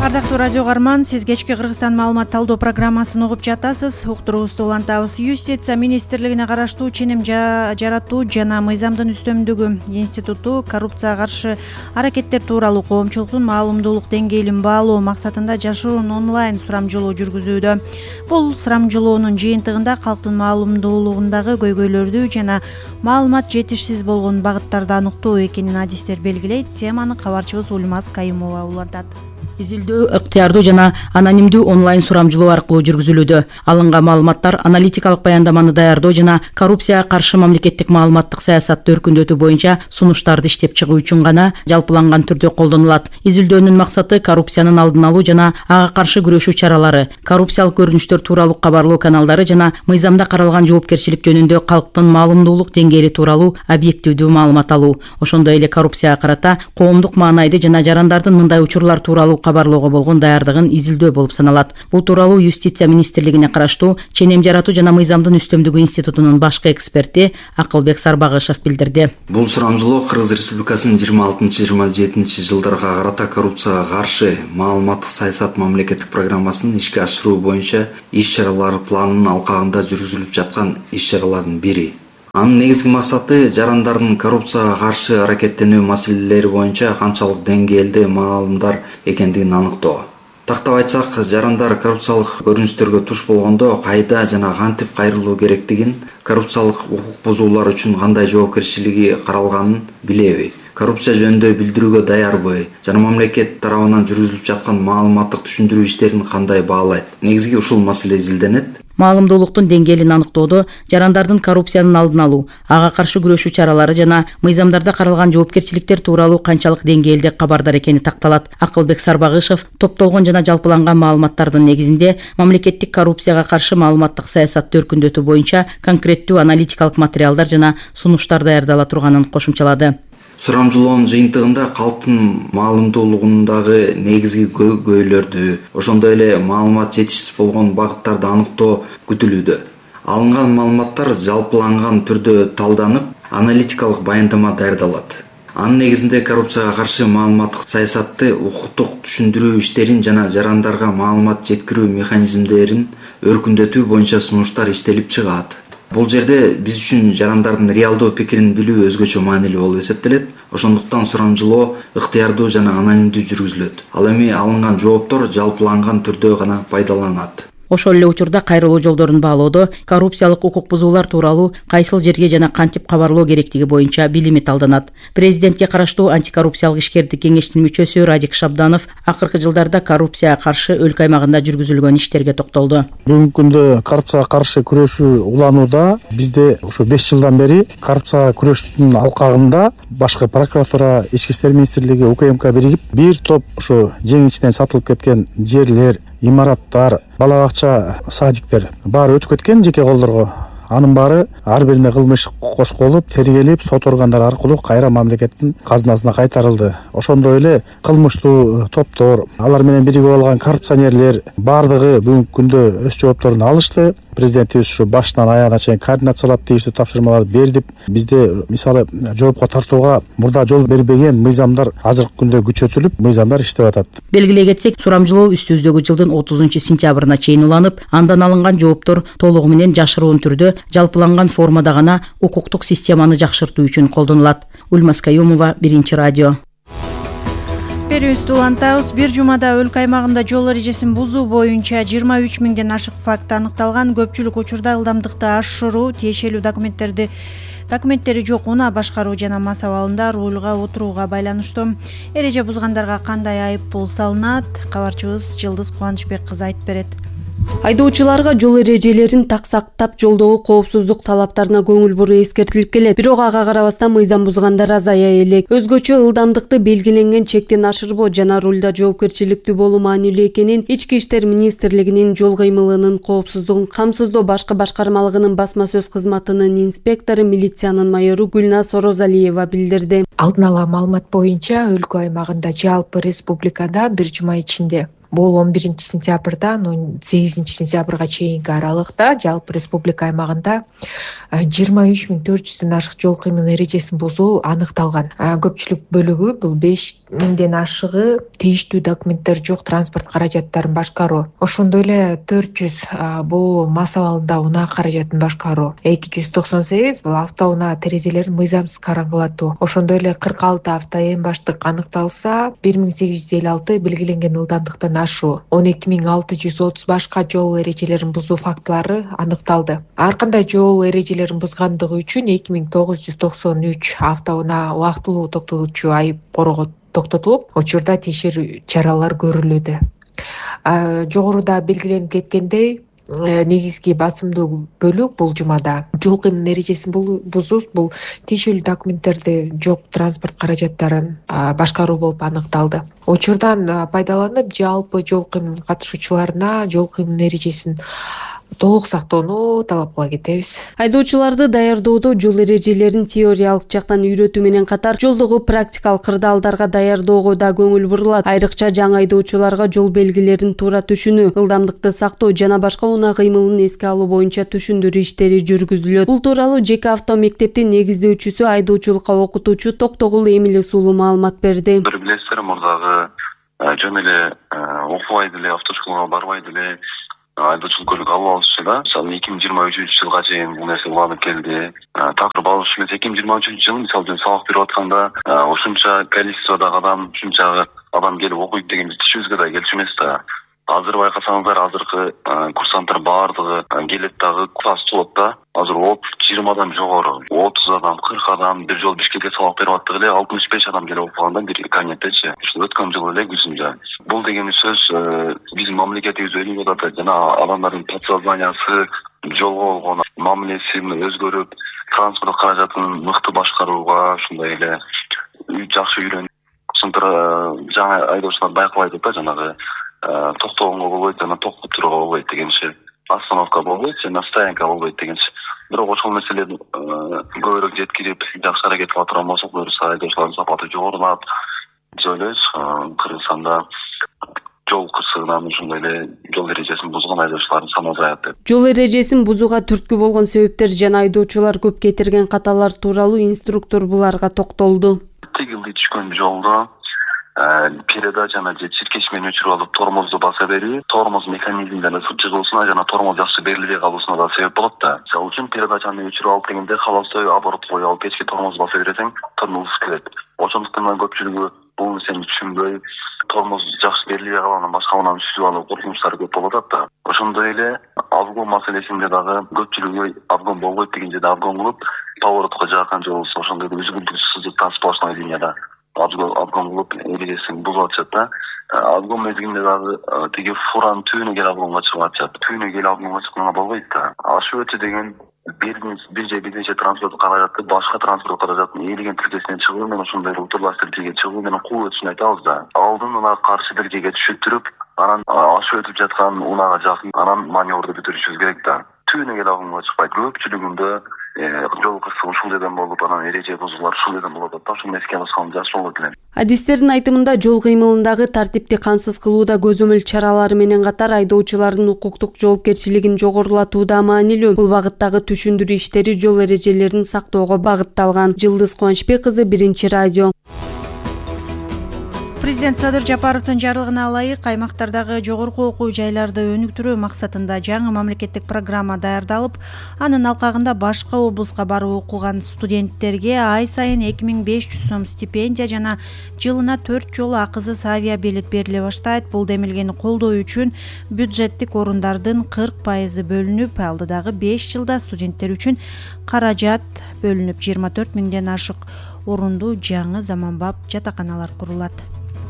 Ардактуу радио угарман, сиз кечки Кыргызстан маалымат талдоо программасын угуп жатасыз. Уктуруубузду улантабыз. Юстиция министрлигине караштуу ченем жаратуу жана мыйзамдын үстөмдүгү институту коррупцияга каршы аракеттер тууралуу коомчулуктун маалымдуулук деңгээлин баалоо максатында жашыруун онлайн сурамжылоо жүргүзүүдө. Бул сурамжылоонун жыйынтыгында калктын маалымдуулугундагы көйгөйлөрдү жана маалымат жетишсиз болгон багыттарды аныктоо экенин адистер белгилейт. Теманы кабарчыбыз Ульмаз Кайымова улантат. Изилдөө ыктыярдуу жана анонимдүү онлайн сурамжылоо аркылуу жүргүзүлүүдө. Алынган маалыматтар аналитикалык баяндаманы даярдоо жана коррупцияга каршы мамлекеттик маалыматтык саясатты өркүндөтүү боюнча сунуштарды иштеп чыгуу үчүн гана жалпыланган түрдө колдонулат. Изилдөөнүн максаты коррупциянын алдын алуу жана ага каршы күрөшүү чаралары, коррупциялык көрүнүштөр тууралуу кабарлоо каналдары жана мыйзамда каралган жоопкерчилик жөнүндө калктын маалымдуулук деңгээли тууралуу объективдүү маалымат алуу. Ошондой эле коррупцияга карата коомдук маанайды жана жарандардын мындай учурлар тууралуу кабарлоого болгон даярдыгын изилдөө болуп саналат. Бул тууралуу Юстиция министрлигине караштуу ченем жаратуу жана мыйзамдын үстөмдүгү институтунун башкы эксперти Акылбек Сарбагышев билдирди. Бул сурамжылоо Кыргыз Республикасынын 26-27 жылдарга карата коррупцияга каршы маалыматтык саясат мамлекеттик программасын ишке ашыруу боюнча иш-чаралар планынын алкагында жүргүзүлүп жаткан иш-чаралардын бири. Анын негизги максаты жарандардын коррупцияга каршы аракеттенүү маселелери боюнча канчалык деңгээлде маалымдар экендигин аныктоо. Тактап айтсак, жарандар коррупциялык көрүнүштөргө туш болгондо кайда жана кантип кайрылуу керектигин, коррупциялык укук бузуулар үчүн кандай жоопкерчилиги каралганын билеби, коррупция жөнүндө билдирүүгө даярбы жана мамлекет тарабынан жүргүзүлүп жаткан маалыматтык түшүндүрүү иштерин кандай баалайт. Негизги ушул маселе изилденет. Маалымдуулуктун деңгээлин аныктоодо жарандардын коррупциянын алдын алуу, ага каршы күрөшүү чаралары жана мыйзамдарда каралган жоопкерчиликтер тууралуу канчалык деңгээлде кабардар экени такталат. Акылбек Сарбагышев топтолгон жана жалпыланган маалыматтардын негизинде мамлекеттик коррупцияга каршы маалыматтык саясатты өркүндөтүү боюнча конкреттүү аналитикалык материалдар жана сунуштар даярдала турганын кошумчалады. Сурамжылоонун жыйынтыгында калктын маалымдуулугундагы негизги көйгөйлөрдү, ошондой эле маалымат жетишсиз болгон багыттарды аныктоо күтүлүүдө. Алынган маалыматтар жалпыланган түрдө талданып, аналитикалык баяндама даярдалат. Анын негизинде коррупцияга каршы маалыматтык саясатты укуктук түшүндүрүү иштерин жана жарандарга маалымат жеткирүү механизмдерин өркүндөтүү боюнча сунуштар иштелип чыгат. Бул жерде биз үчүн жарандардын реалдуу пикирин билүү өзгөчө маанилүү болуп эсептелет. Ошондуктан сурамжылоо ыктыярдуу жана анонимдүү жүргүзүлөт. Ал эми алынган жооптор жалпыланган түрдө гана пайдаланат. Ошол эле учурда кайрылуу жолдорун баалоодо коррупциялык укук бузуулар тууралуу кайсыл жерге жана кантип кабарлоо керектиги боюнча билими талданат. Президентке караштуу антикоррупциялык ишкердик кеңештин мүчөсү Радик Шабданов акыркы жылдарда коррупцияга каршы өлкө аймагында жүргүзүлгөн иштерге токтолду. Бүгүнкү күндө коррупцияга каршы күрөшүү уланууда бизде ушу 5 жылдан бери коррупцияга күрөштүн алкагында башкы прокуратура, Ички иштер министрлиги, УКМК биригип бир топ ушу жең ичинен сатылып кеткен жерлер, имараттар, бала бакча, садиктер баары өтүп кеткен жеке колдорго. Анын баары ар бирине кылмыш козголуп, тергелип, сот органдары аркылуу кайра мамлекеттин казынасына кайтарылды. Ошондой эле кылмыштуу топтор, алар менен биригип алган коррупционерлер баардыгы бүгүнкү күндө өз жоопторун алышты. Президентибиз ушу башынан аягына чейин координациялап тийиштүү тапшырмаларды берди. Бизде мисалы жоопко тартууга мурда жол бербеген мыйзамдар азыркы күндө күчөтүлүп, мыйзамдар иштеп атат. Белгилей кетсек, сурамжылоо үстүбүздөгү жылдын 30-сентябрына чейин уланып, андан алынган жооптор толугу менен жашыруун түрдө жалпыланган формада гана укуктук системаны жакшыртуу үчүн колдонулат. Ульмаз Кайымова, Биринчи радио. Берүүбүздү улантабыз. Бир жумада өлкө аймагында жол эрежесин бузуу боюнча 23 миңден ашык факт аныкталган. Көпчүлүк учурда ылдамдыкты ашыруу, тиешелүү документтери жок унаа башкаруу жана мас абалында рулга отурууга байланыштуу. Эреже бузгандарга кандай айып пул салынат? Кабарчыбыз Жылдыз Кубанычбек кызы айтып берет. Айдоочуларга жол эрежелерин так сактап, жолдогу коопсуздук талаптарына көңүл буруу эскертилип келет. Бирок ага карабастан мыйзам бузгандар азая элек. Өзгөчө ылдамдыкты белгиленген чектен ашырбоо жана рулда жоопкерчиликтүү болуу маанилүү экенин Ички иштер министрлигинин жол кыймылынын коопсуздугун камсыздоо башкы башкармалыгынын басма сөз кызматынын инспектору, милициянын майору Гүлназ Орозалиева билдирди. Алдын ала маалымат боюнча өлкө аймагында жалпы республикада бир жума ичинде Бул 11-сентябрдан 18-сентябрга чейинки аралыкта жалпы республика аймагында 23.400 ашык жол кыймыл эрежесин бузуу аныкталган. Көпчүлүк бөлүгү бул 5.000 ашыгы тийиштүү документтер жок транспорт каражаттарын башкаруу. Ошондой эле 400 бул мас абалында унаа каражатын башкаруу. 298 бул автоунаа терезелерин мыйзамсыз караңгылатуу. Ошондой эле 46 автоэм баштык аныкталса, 1856 белгиленген ылдамдыктан ашуу, 12630 башка жол эрежелерин бузуу фактылары аныкталды. Ар кандай жол эрежелерин бузгандыгы үчүн 2993 автоунаа убактылуу токтотуучу айып корого токтотулуп, учурда тиешелүү чаралар көрүлүүдө. Жогоруда белгиленип кеткендей, негизги басымдуу бөлүк бул жумада жол кыймыл эрежесин бузуу бул тиешелүү документтерди жок транспорт каражаттарын башкаруу болуп аныкталды. Учурдан пайдаланып, жалпы жол кыймыл катышуучуларына жол кыймыл эрежесин толук сактоону талап кыла кетебиз. Айдоочуларды даярдоодо жол эрежелерин теориялык жактан үйрөтүү менен катар жолдогу практикалык кырдаалдарга даярдоого да көңүл бурулат. Айрыкча жаңы айдоочуларга жол белгилерин туура түшүнүү, ылдамдыкты сактоо жана башка унаа кыймылын эске алуу боюнча түшүндүрүү иштери жүргүзүлөт. Бул тууралуу ЖК авто мектептин негиздөөчүсү, айдоочулукка окутуучу Токтогул Эмили Сулуу маалымат берди. Билесиздер, мурдагы жөн эле окубай деле, автошколага барбай деле айдоочулук көлүк алып алышчу да. Мисалы 2023-жылга чейин бул нерсе уланып келди. Такыр алыш эмес, 2023-жылы мисалы жөн сабак берип атканда ушунча количестводагы адам, ушунча адам келип окуйт деген биз түшүбүзгө да келчү эмес да. Азыр байкасаңыздар, азыркы курсанттар баардыгы келет дагы класс болот да. Азыр 30-20 жогору, 30 адам, 40 адам бир жол Бишкекке сабак берип аттык эле 65 адам келип окуганда бир кабинеттечи. Ушу өткөн жылы эле күзүндө. Бул деген сөз биздин мамлекетибиз өнүгүп атат жана адамдардын подсознаниясы, жолго болгон мамилеси өзгөрүп, транспорт каражатын мыкты башкарууга ушундай эле жакшы үйрөнүп, жаңы айдоочулар байкабай атат да, жанагы токтогонго болбойт, жана токтоп турууга болбойт дегенчи, остановка болбойт жана стоянка болбойт дегенчи. Бирок ошол маселени көбүрөөк жеткирип, жакшы аракет кыла турган болсок, буюрса айдоочулардын сапаты жогорулап, биз ойлойбуз Кыргызстанда жол кырсыгынан ушундай эле жол эрежесин бузган айдоочулардын саны азаят деп. Жол эрежесин бузууга түрткү болгон себептер жана айдоочулар көп кетирген каталар тууралуу инструктор буларга токтолду. Тигилди түшкөн жолдо передачаны же чиркешмени өчүрүп алып тормозду баса берүү, тормоз механизмден ысып чыгуусуна жана тормоз жакшы берилбей калуусуна да себеп болот да. Мисалы үчүн передачаны өчүрүп алып дегенде холостой оборот коюп алып кечки тормоз баса берсең, тормоз ысып кетет. Ошондуктан көпчүлүгү бул нерсени түшүнбөй, тормоз жакшы берилбей калганын башка унаны сүзүп алуу коркунучтары көп болуп атат да. Ошондой эле обгон маселесинде дагы көпчүлүгү обгон болбойт деген жерде обгон кылып, поворотко жакын же болбосо ошондой үзгүлтүксүз сплошной линияда обгон кылып эрежесин бузуп атышат да. Обгон мезгилинде дагы тиги фуранын түбүнө келип обгонго чыгып атышат. Түбүнө келип обгонго чыкканга болбойт да. Ашып өтүү деген бир же бирнече транспорт каражатты башка транспорт каражаттын ээлеген тилкесинен чыгуу менен ошондой утурлаштырып тилге чыгуу менен куу өтүшүн айтабыз да. Алдын ала каршы тилкеге түшүттүрүп, анан ашып өтүп жаткан унаага жакын, анан маневрду бүтүрүшүбүз керек да. Түбүнө келип обгонго чыкпайт. Көпчүлүгүндө жол кырсыгы ушул жерден болуп, анан эреже бузуулар ушул жерден болуп атат. Ошону эске алышкан жакшы болот элем. Адистердин айтымында жол кыймылындагы тартипти камсыз кылууда көзөмөл чаралары менен катар айдоочулардын укуктук жоопкерчилигин жогорулатуу да маанилүү. Бул багыттагы түшүндүрүү иштери жол эрежелерин сактоого багытталган. Жылдыз Кубанычбек кызы, Биринчи радио. Президент Садыр Жапаровдун жарлыгына ылайык аймактардагы жогорку окуу жайларды өнүктүрүү максатында жаңы мамлекеттик программа даярдалып, анын алкагында башка облуска барып окуган студенттерге ай сайын 2500 сом стипендия жана жылына 4 жолу акысыз авиабилет бериле баштайт. Бул демилгени колдоо үчүн бюджеттик орундардын 40% бөлүнүп, алдыдагы 5 жылда студенттер үчүн каражат бөлүнүп, 24 миңден ашык орундуу жаңы заманбап жатаканалар курулат.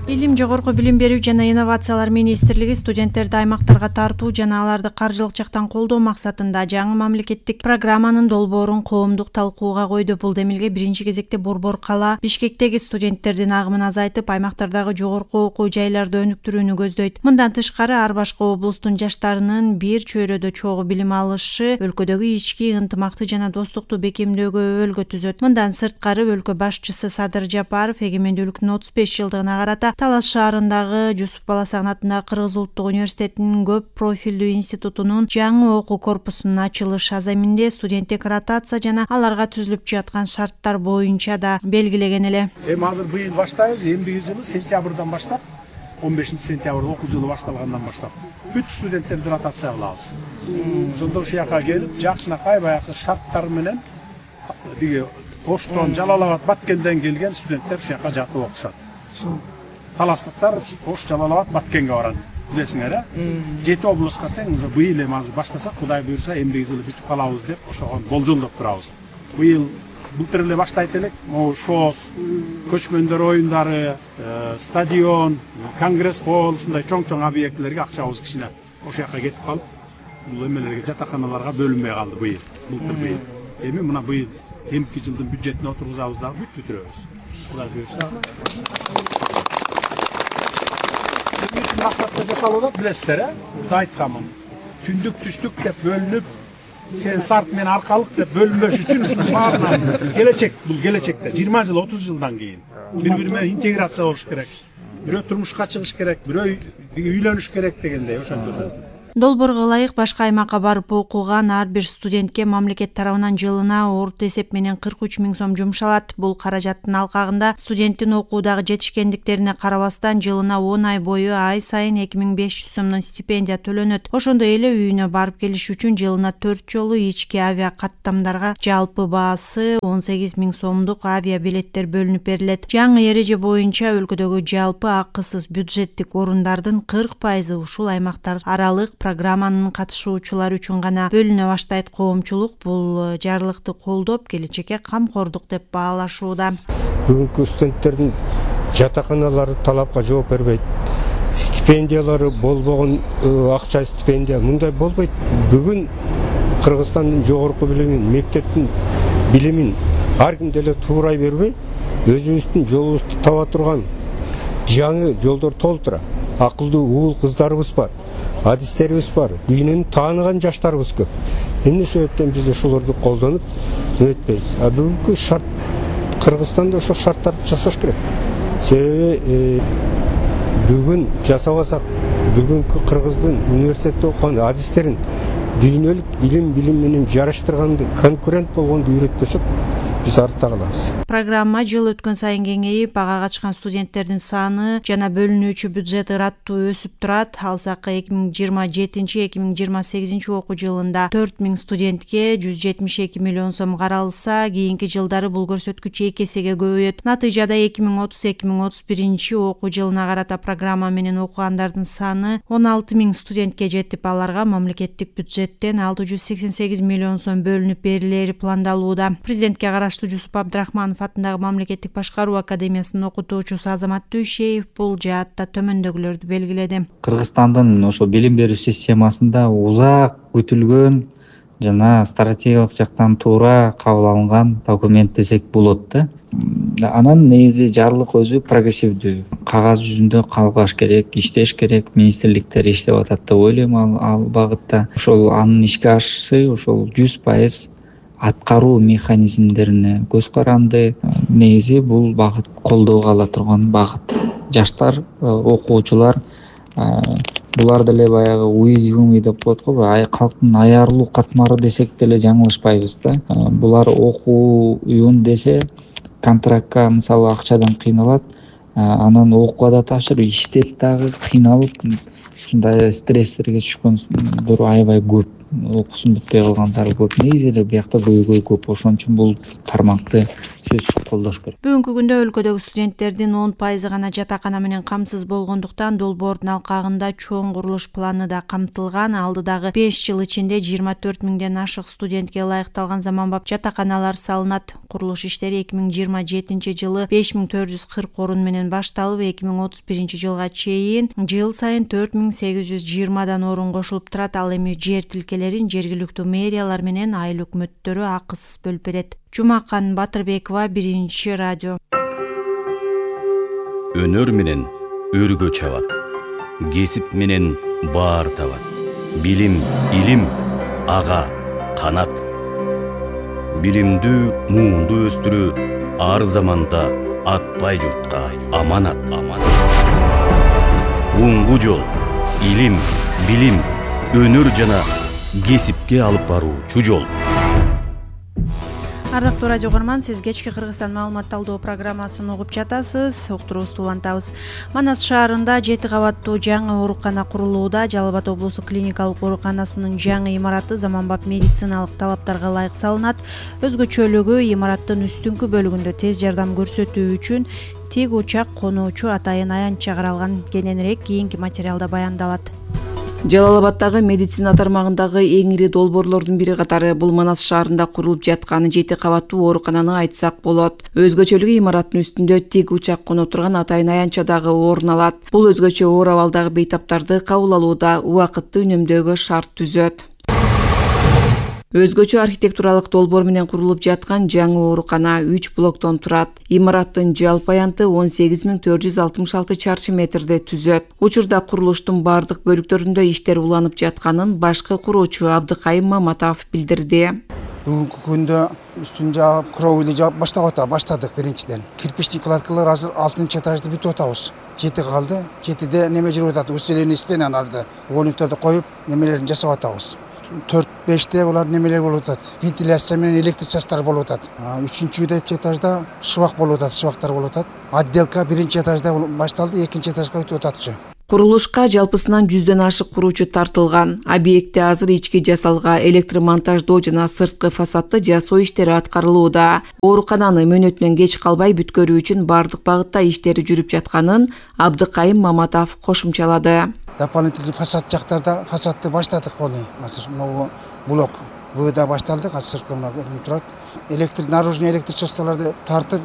Илим, жогорку билим берүү жана инновациялар министрлиги студенттерди аймактарга тартуу жана аларды каржылык жактан колдоо максатында жаңы мамлекеттик программанын долбоорун коомдук талкууга койду. Бул демилге биринчи кезекте Борбор кала Бишкектеги студенттердин агымын азайтып, аймактардагы жогорку окуу жайларды өнүктүрүүнү көздөйт. Мындан тышкары ар башка облустун жаштарынын бир чөйрөдө чогуу билим алышы өлкөдөгү ички ынтымакты жана достукту бекемдөөгө өбөлгө түзөт. Мындан сырткары өлкө башчысы Садыр Жапаров эгемендүүлүктүн 35 жылдыгына карата Талас шаарындагы Жусуп Баласагын атындагы Кыргыз улуттук университетинин көп профилдүү институтунун жаңы окуу корпусунун ачылыш аземинде студенттик ротация жана аларга түзүлүп жаткан шарттар боюнча да белгилеген эле. Эми азыр быйыл баштайбыз, эмдиги жылы сентябрдан баштап 15-сентябрда окуу жылы башталгандан баштап бүт студенттерди ротация кылабыз. Ошондо ушул жака келип, жакшынакай баягы шарттар менен биги Оштон, Жалал-Абад, Баткенден келген студенттер ушул жака жатып окушат. Таластыктар Ош, Жалал-Абад, Баткенге барат. Билесиңер, 7 облуска тең уже быйыл эми азыр баштасак, Кудай буйруса, эмдиги жылы бүтүп калабыз деп ошого болжолдоп турабыз. Быйыл былтыр эле баштайт элек, могу ШОС, көчмөндөр оюндары, стадион, конгресс холл, ушундай чоң-чоң объектилерге акчабыз кичине ошол жака кетип калып, бул эмелерге, жатаканаларга бөлүнбөй калды быйыл, былтыр быйыл. Эми мына быйыл эмки жылдын бюджетине отургузабыз дагы бүт бүтүрөбүз. Кудай буйруса. Максатта жасалып атат, билесиздер, Бул айтканмын. Түндүк, түштүк деп бөлүнүп, сен сарт мен аркалык деп бөлүнбөш үчүн ушунун баарынан келечек, бул келечекте 20 жыл, 30 жылдан кийин бири-бири менен интеграция болуш керек. Бирөө турмушка чыгыш керек, бирөө үйлөнүш керек дегендей ошондой. Долбоорго ылайык башка аймакка барып окуган ар бир студентке мамлекет тарабынан жылына орто эсеп менен 43 000 сом жумшалат. Бул каражаттын алкагында студенттин окуудагы жетишкендиктерине карабастан жылына 10 ай бою ай сайын 2500 сомдон стипендия төлөнөт. Ошондой эле үйүнө барып келиш үчүн жылына 4 жолу ички авиа каттамдарга жалпы баасы 18 000 сомдук авиа билеттер бөлүнүп берилет. Жаңы эреже боюнча өлкөдөгү жалпы акысыз бюджеттик орундардын 40% ушул аймактар аралык программанын катышуучулары үчүн гана бөлүнө баштайт. Коомчулук бул жарлыкты колдоп, келечекке камкордук деп баалашууда. Бүгүнкү студенттердин жатаканалары талапка жооп бербейт. Стипендиялары болбогон акча стипендия мындай болбойт. Бүгүн Кыргызстандын жогорку билимин, мектептин билимин ар ким деле туурай бербей, өзүбүздүн жолубузду таба турган жаңы жолдор толтура. Акылдуу уул кыздарыбыз бар. Адистерибиз бар, дүйнөнү тааныган жаштарыбыз көп. Эмне себептен биз ошолорду колдонуп өтпөйбүз? Бүгүнкү шарт Кыргызстанда ошол шарттарды жасаш керек. Себеби бүгүн жасабасак, бүгүнкү Кыргыздын университетте окуган адистерин дүйнөлүк илим билим менен жарыштырганды, конкурент болгонду үйрөтпөсөк, биз артта калабыз. Программа жыл өткөн сайын кеңейип, ага качкан студенттердин саны жана бөлүнүүчү бюджет ыраттуу өсүп турат. Алсак 2027-2028 окуу жылында 4000 студентке 172 миллион сом каралса, кийинки жылдары бул көрсөткүч 2 эсеге көбөйөт. Натыйжада 2030-2031 окуу жылына карата программа менен окугандардын саны 16 000 студентке жетип, аларга мамлекеттик бюджеттен 688 миллион сом бөлүнүп берилери пландалууда. Президентке караштуу Жусуп Абдрахманов атындагы мамлекеттик башкаруу академиясынын окутуучусу Азамат Дүйшеев бул жаатта төмөндөгүлөрдү белгиледи. Кыргызстандын ошо билим берүү системасында узак күтүлгөн жана стратегиялык жактан туура кабыл алынган документ десек болот да. Анан негизи жарлык өзү прогрессивдүү, кагаз жүзүндө калбаш керек, иштеш керек, министрликтер иштеп атат деп ойлойм ал багытта. Ошол анын ишке ашышы ошол 100% аткаруу механизмдерине көз каранды. Негизи бул багыт колдоого ала турган багыт. Жаштар, окуучулар булар деле баягы уязвимый деп коет го, калктын аярлуу катмары десек деле жаңылышпайбыз да. Булар окуйун десе контрактка мисалы акчадан кыйналат, анан окууга да тапшырып, иштеп дагы кыйналып, ушундай стресстерге түшкөндөр аябай көп. Окуусун бүтпөй калгандары көп. Негизи эле биякта көйгөй көп. Ошон үчүн бул тармакты сөзсүз колдош керек. Бүгүнкү күндө өлкөдөгү студенттердин 10% гана жатакана менен камсыз болгондуктан долбоордун алкагында чоң курулуш планы да камтылган. Алдыдагы 5 жыл ичинде 24 000ден ашык студентке ылайыкталган заманбап жатаканалар салынат. Курулуш иштери 2027 жылы 5440 орун менен башталып, 2031 жылга чейин жыл сайын 4820дан орун кошулуп турат. Ал эми жер тилкелерин жергиликтүү мэриялар менен айыл өкмөттөрү акысыз бөлүп берет. Жумакан Батырбекова, 1 радио. Өнөр менен өргө чабат, кесип менен баар табат. Билим, илим, ага канат. Билимдүү, муунду өстүрүү ар заманда атпай журтка аманат. оңгу жол, илим, билим, өнөр жана кесипке алып баруучу жол. Ардактуу радио угарман, сиз кечки Кыргызстан маалымат талдоо программасын угуп жатасыз. Уктуруубузду улантабыз. Манас шаарында 7 кабаттуу жаңы оорукана курулууда. Жалал Абад облустук клиникалык ооруканасынын жаңы имараты заманбап медициналык талаптарга ылайык салынат. Өзгөчөлүгү имараттын үстүңкү бөлүгүндө тез жардам көрсөтүү үчүн тик учак конуучу атайын аянт чыгарылган. Кененирээк кийинки материалда баяндалат. Жалал Абаддагы медицина тармагындагы эң ири долбоорлордун бири катары бул Манас шаарында курулуп жаткан 7 кабаттуу оорукананы айтсак болот. Өзгөчөлүгү имараттын үстүндө тик учак коно турган атайын аянтча дагы орун алат. Бул өзгөчө оор абалдагы бейтаптарды кабыл алууда убакытты үнөмдөөгө шарт түзөт. Өзгөчө архитектуралык долбоор менен курулуп жаткан жаңы оорукана 3 блоктон турат. Имараттын жалпы аянты 18466 чарчы метрди түзөт. Учурда курулуштун бардык бөлүктөрүндө иштер уланып жатканын башкы куруучу Абдыкайым Маматов билдирди. Бүгүнкү күндө үстүн жаап, кровли жаап баштадык биринчиден. Кирпичный кладкалар азыр 6-этажды бүтүп атабыз. 7 калды. 7де неме жүрүп атат, усиление стенаны арды. Уголниктарды коюп, немелерин жасап атабыз. 4-5те булар немелер болуп атат. Вентиляция менен электричестволор болуп атат. 3-үчү этажда шыбак болуп атат, шыбактар болуп атат. Отделка 1-этажда башталды, 2-этажга өтүп атат. Курулушка жалпысынан 100дөн ашык куруучу тартылган. Объектте азыр ички жасалга, электромонтаждоо жана сырткы фасадты жасоо иштери аткарылууда. Оорукананы мөөнөтүнөн кеч калбай бүткөрүү үчүн бардык багытта иштери жүрүп жатканын Абдыкайым Маматов кошумчалады. Дополнительный фасад жактарда фасадты баштадык буну. Азыр могу блок Вда башталдык, азыр сырткы көрүнүп турат. Наружный электричестволорду тартып,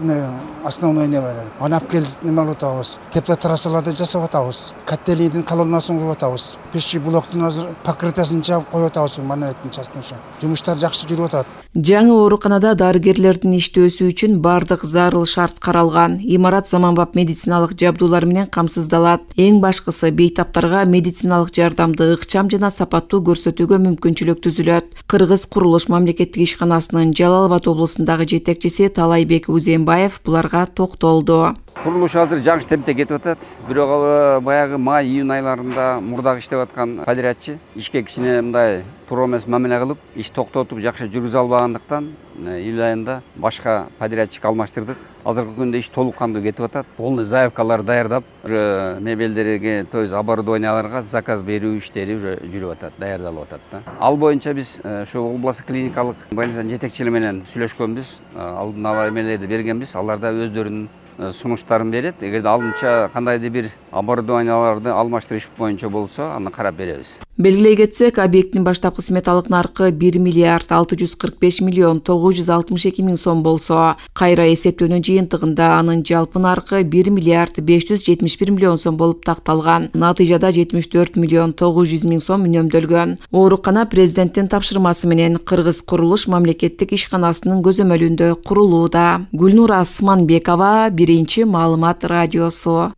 основной немелер. Анап келип неме алып атабыз. Теплотрассаларды жасап атабыз. Котельныйдын колоннасын куруп атабыз. Печи блоктун азыр покрытиясын жаап коюп атабыз, монолиттин частынша. Жумуштар жакшы жүрүп атат. Жаңы ооруканада дарыгерлердин иштөөсү үчүн бардык зарыл шарт каралган. Имарат заманбап медициналык жабдуулар менен камсыздалат. Эң башкысы бейтаптарга медициналык жардамды ыкчам жана сапаттуу көрсөтүүгө мүмкүнчүлүк түзүлөт. Кыргыз курулуш мамлекеттик ишканасынын Жалал Абад облусундагы жетекчиси Талайбек Узенбаев буларга токтолду. Курулуш азыр жаңы темпте кетип атат. Бирок баягы май-июнь айларында мурдагы иштеп аткан подрядчы ишке кичине мындай туура эмес мамиле кылып, иш токтотуп жакшы жүргүзө албагандыктан июль айында башка подрядчик алмаштырдык. Азыркы күндө иш толук кандуу кетип атат. Полный заявкалар даярдап, мебелдерге, то есть оборудованияларга заказ берүү иштери жүрүп атат, даярдалып атат. Ал боюнча биз ошо областтык клиникалык больницанын жетекчилери менен сүйлөшкөнбүз, алдын ала эмелерди бергенбиз. Алар да өздөрүнүн сунуштарын берет. Эгерде алдынча кандайдыр бир оборудованияларды алмаштырыш боюнча болсо, аны карап беребиз. Белгилей кетсек, объекттин баштапкы сметалык наркы 1 миллиард 645 миллион 962 миң сом болсо, кайра эсептөөнүн жыйынтыгында анын жалпы наркы 1 миллиард 571 миллион сом болуп такталган. Натыйжада 74 миллион 900 миң сом үнөмдөлгөн. Оорукана президенттин тапшырмасы менен Кыргыз курулуш мамлекеттик ишканасынын көзөмөлүндө курулууда. Гүлнур Асманбекова, Биринчи маалымат радиосу.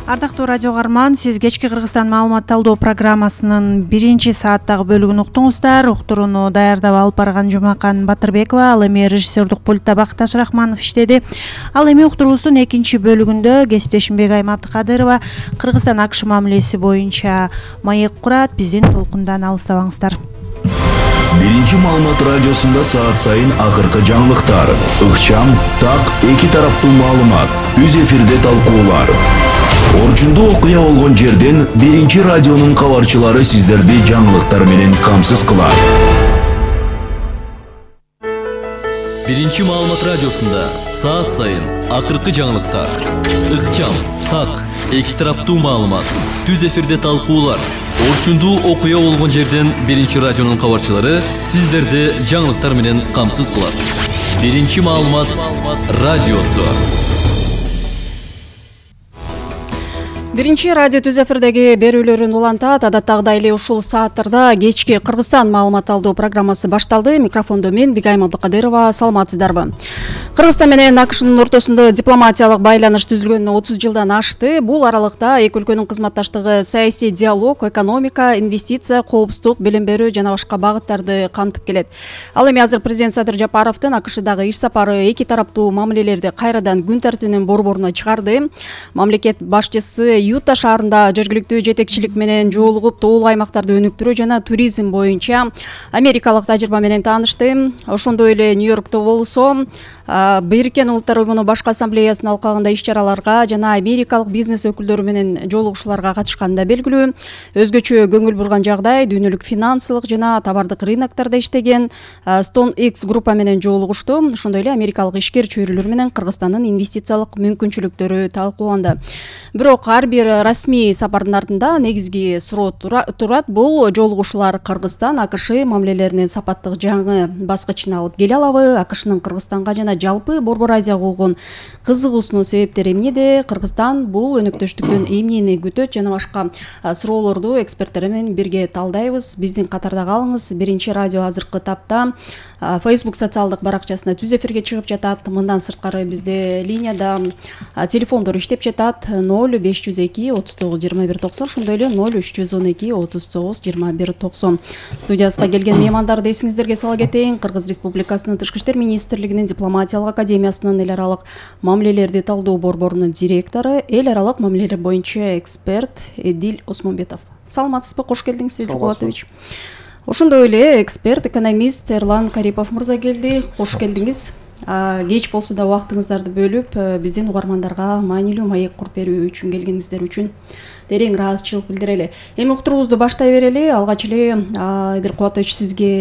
Ардактуу радио угарман, сиз кечки Кыргызстан маалымат талдоо программасынын 1-сааттагы бөлүгүн уктуңуздар. Уктурууну даярдап алып барган Жумакан Батырбекова, ал эми режиссердук пультта Бакташ Рахманов иштеди. Ал эми уктуруубуздун 2-бөлүгүндө кесиптешим Бегайым Абдыкадырова Кыргызстан АКШ мамилеси боюнча маек курат. Биздин толкундан алыстабаңыздар. Биринчи маалымат радиосунда саат сайын акыркы жаңылыктар, ыкчам, так, эки тараптуу маалымат, түз эфирде талкуулар. Орчундуу окуя болгон жерден Биринчи радионун кабарчылары сиздерди жаңылыктар менен камсыз кылат. Биринчи маалымат радиосунда саат сайын акыркы жаңылыктар, ыкчам, так, эки тараптуу маалымат, түз эфирде талкуулар. Орчундуу окуя болгон жерден Биринчи радионун кабарчылары сиздерди жаңылыктар менен камсыз кылат. Биринчи маалымат радиосу. Биринчи радио түз эфирдеги берүүлөрүн улантат. Адаттагыдай эле ушул сааттарда кечки Кыргызстан маалымат алуу программасы башталды. Микрофондо мен Бигайым Абдыкадырова. Саламатсыздарбы? Кыргызстан менен АКШнын ортосунда дипломатиялык байланыш түзүлгөнүнө 30 жылдан ашты. Бул аралыкта эки өлкөнүн кызматташтыгы саясий диалог, экономика, инвестиция, коопсуздук, билим берүү жана башка багыттарды камтып келет. Ал эми азыр президент Садыр Жапаровдун АКШдагы иш сапары эки тараптуу мамилелерди кайрадан күн тартибинин борборуна чыгарды. Мамлекет башчысы Юта шаарында жергиликтүү жетекчилик менен жолугуп, тоолуу аймактарды өнүктүрүү жана туризм боюнча америкалык тажрыйба менен таанышты. Ошондой эле Нью-Йоркто болсо Бириккен Улуттар уюмунун башкы ассамблеясынын алкагында иш-чараларга жана америкалык бизнес өкүлдөрү менен жолугушууларга катышканы да белгилүү. Өзгөчө көңүл бурган жагдай дүйнөлүк финансылык жана товардык рыноктарда иштеген StoneX группа менен жолугушту. Ошондой эле америкалык ишкер чөйрөлөр менен Кыргызстандын инвестициялык мүмкүнчүлүктөрү талкууланды. Бирок ар бир расмий сапардын артында негизги суроо турат. Бул жолугушуулар Кыргызстан АКШ мамилелеринин сапаттык жаңы баскычына алып келе алабы? АКШнын Кыргызстанга жана жалпы Борбор Азияга болгон кызыгуусунун себептери эмнеде? Кыргызстан бул өнөктөштүктөн эмнени күтөт жана башка суроолорду эксперттер менен бирге талдайбыз. Биздин катарда калыңыз. Биринчи радио азыркы тапта Facebook социалдык баракчасына түз эфирге чыгып жатат. Мындан сырткары бизде линияда телефондор иштеп жатат. 0502 39 21 90, ошондой эле 0312 39 21 90. Студиясына келген меймандарды эсиңиздерге сала кетейин. Кыргыз Республикасынын Тышкы иштер министрлигинин дипломатиялык академиясынын эл аралык мамилелерди талдоо борборунун директору, эл аралык мамилелер боюнча эксперт Эдил Осмонбетов. Саламатсызбы? Кош келдиңиз, Эдил Булатович. Ошондой эле эксперт, экономист Эрлан Карипов мырза келди. Кош келдиңиз. Кеч болсо да убактыңыздарды бөлүп, биздин угармандарга маанилүү маек куруп берүү үчүн келгениңиздер үчүн терең ыраазычылык билдирели. Эми уктуруубузду баштай берели. Алгач эле Эдил Кубатович, сизге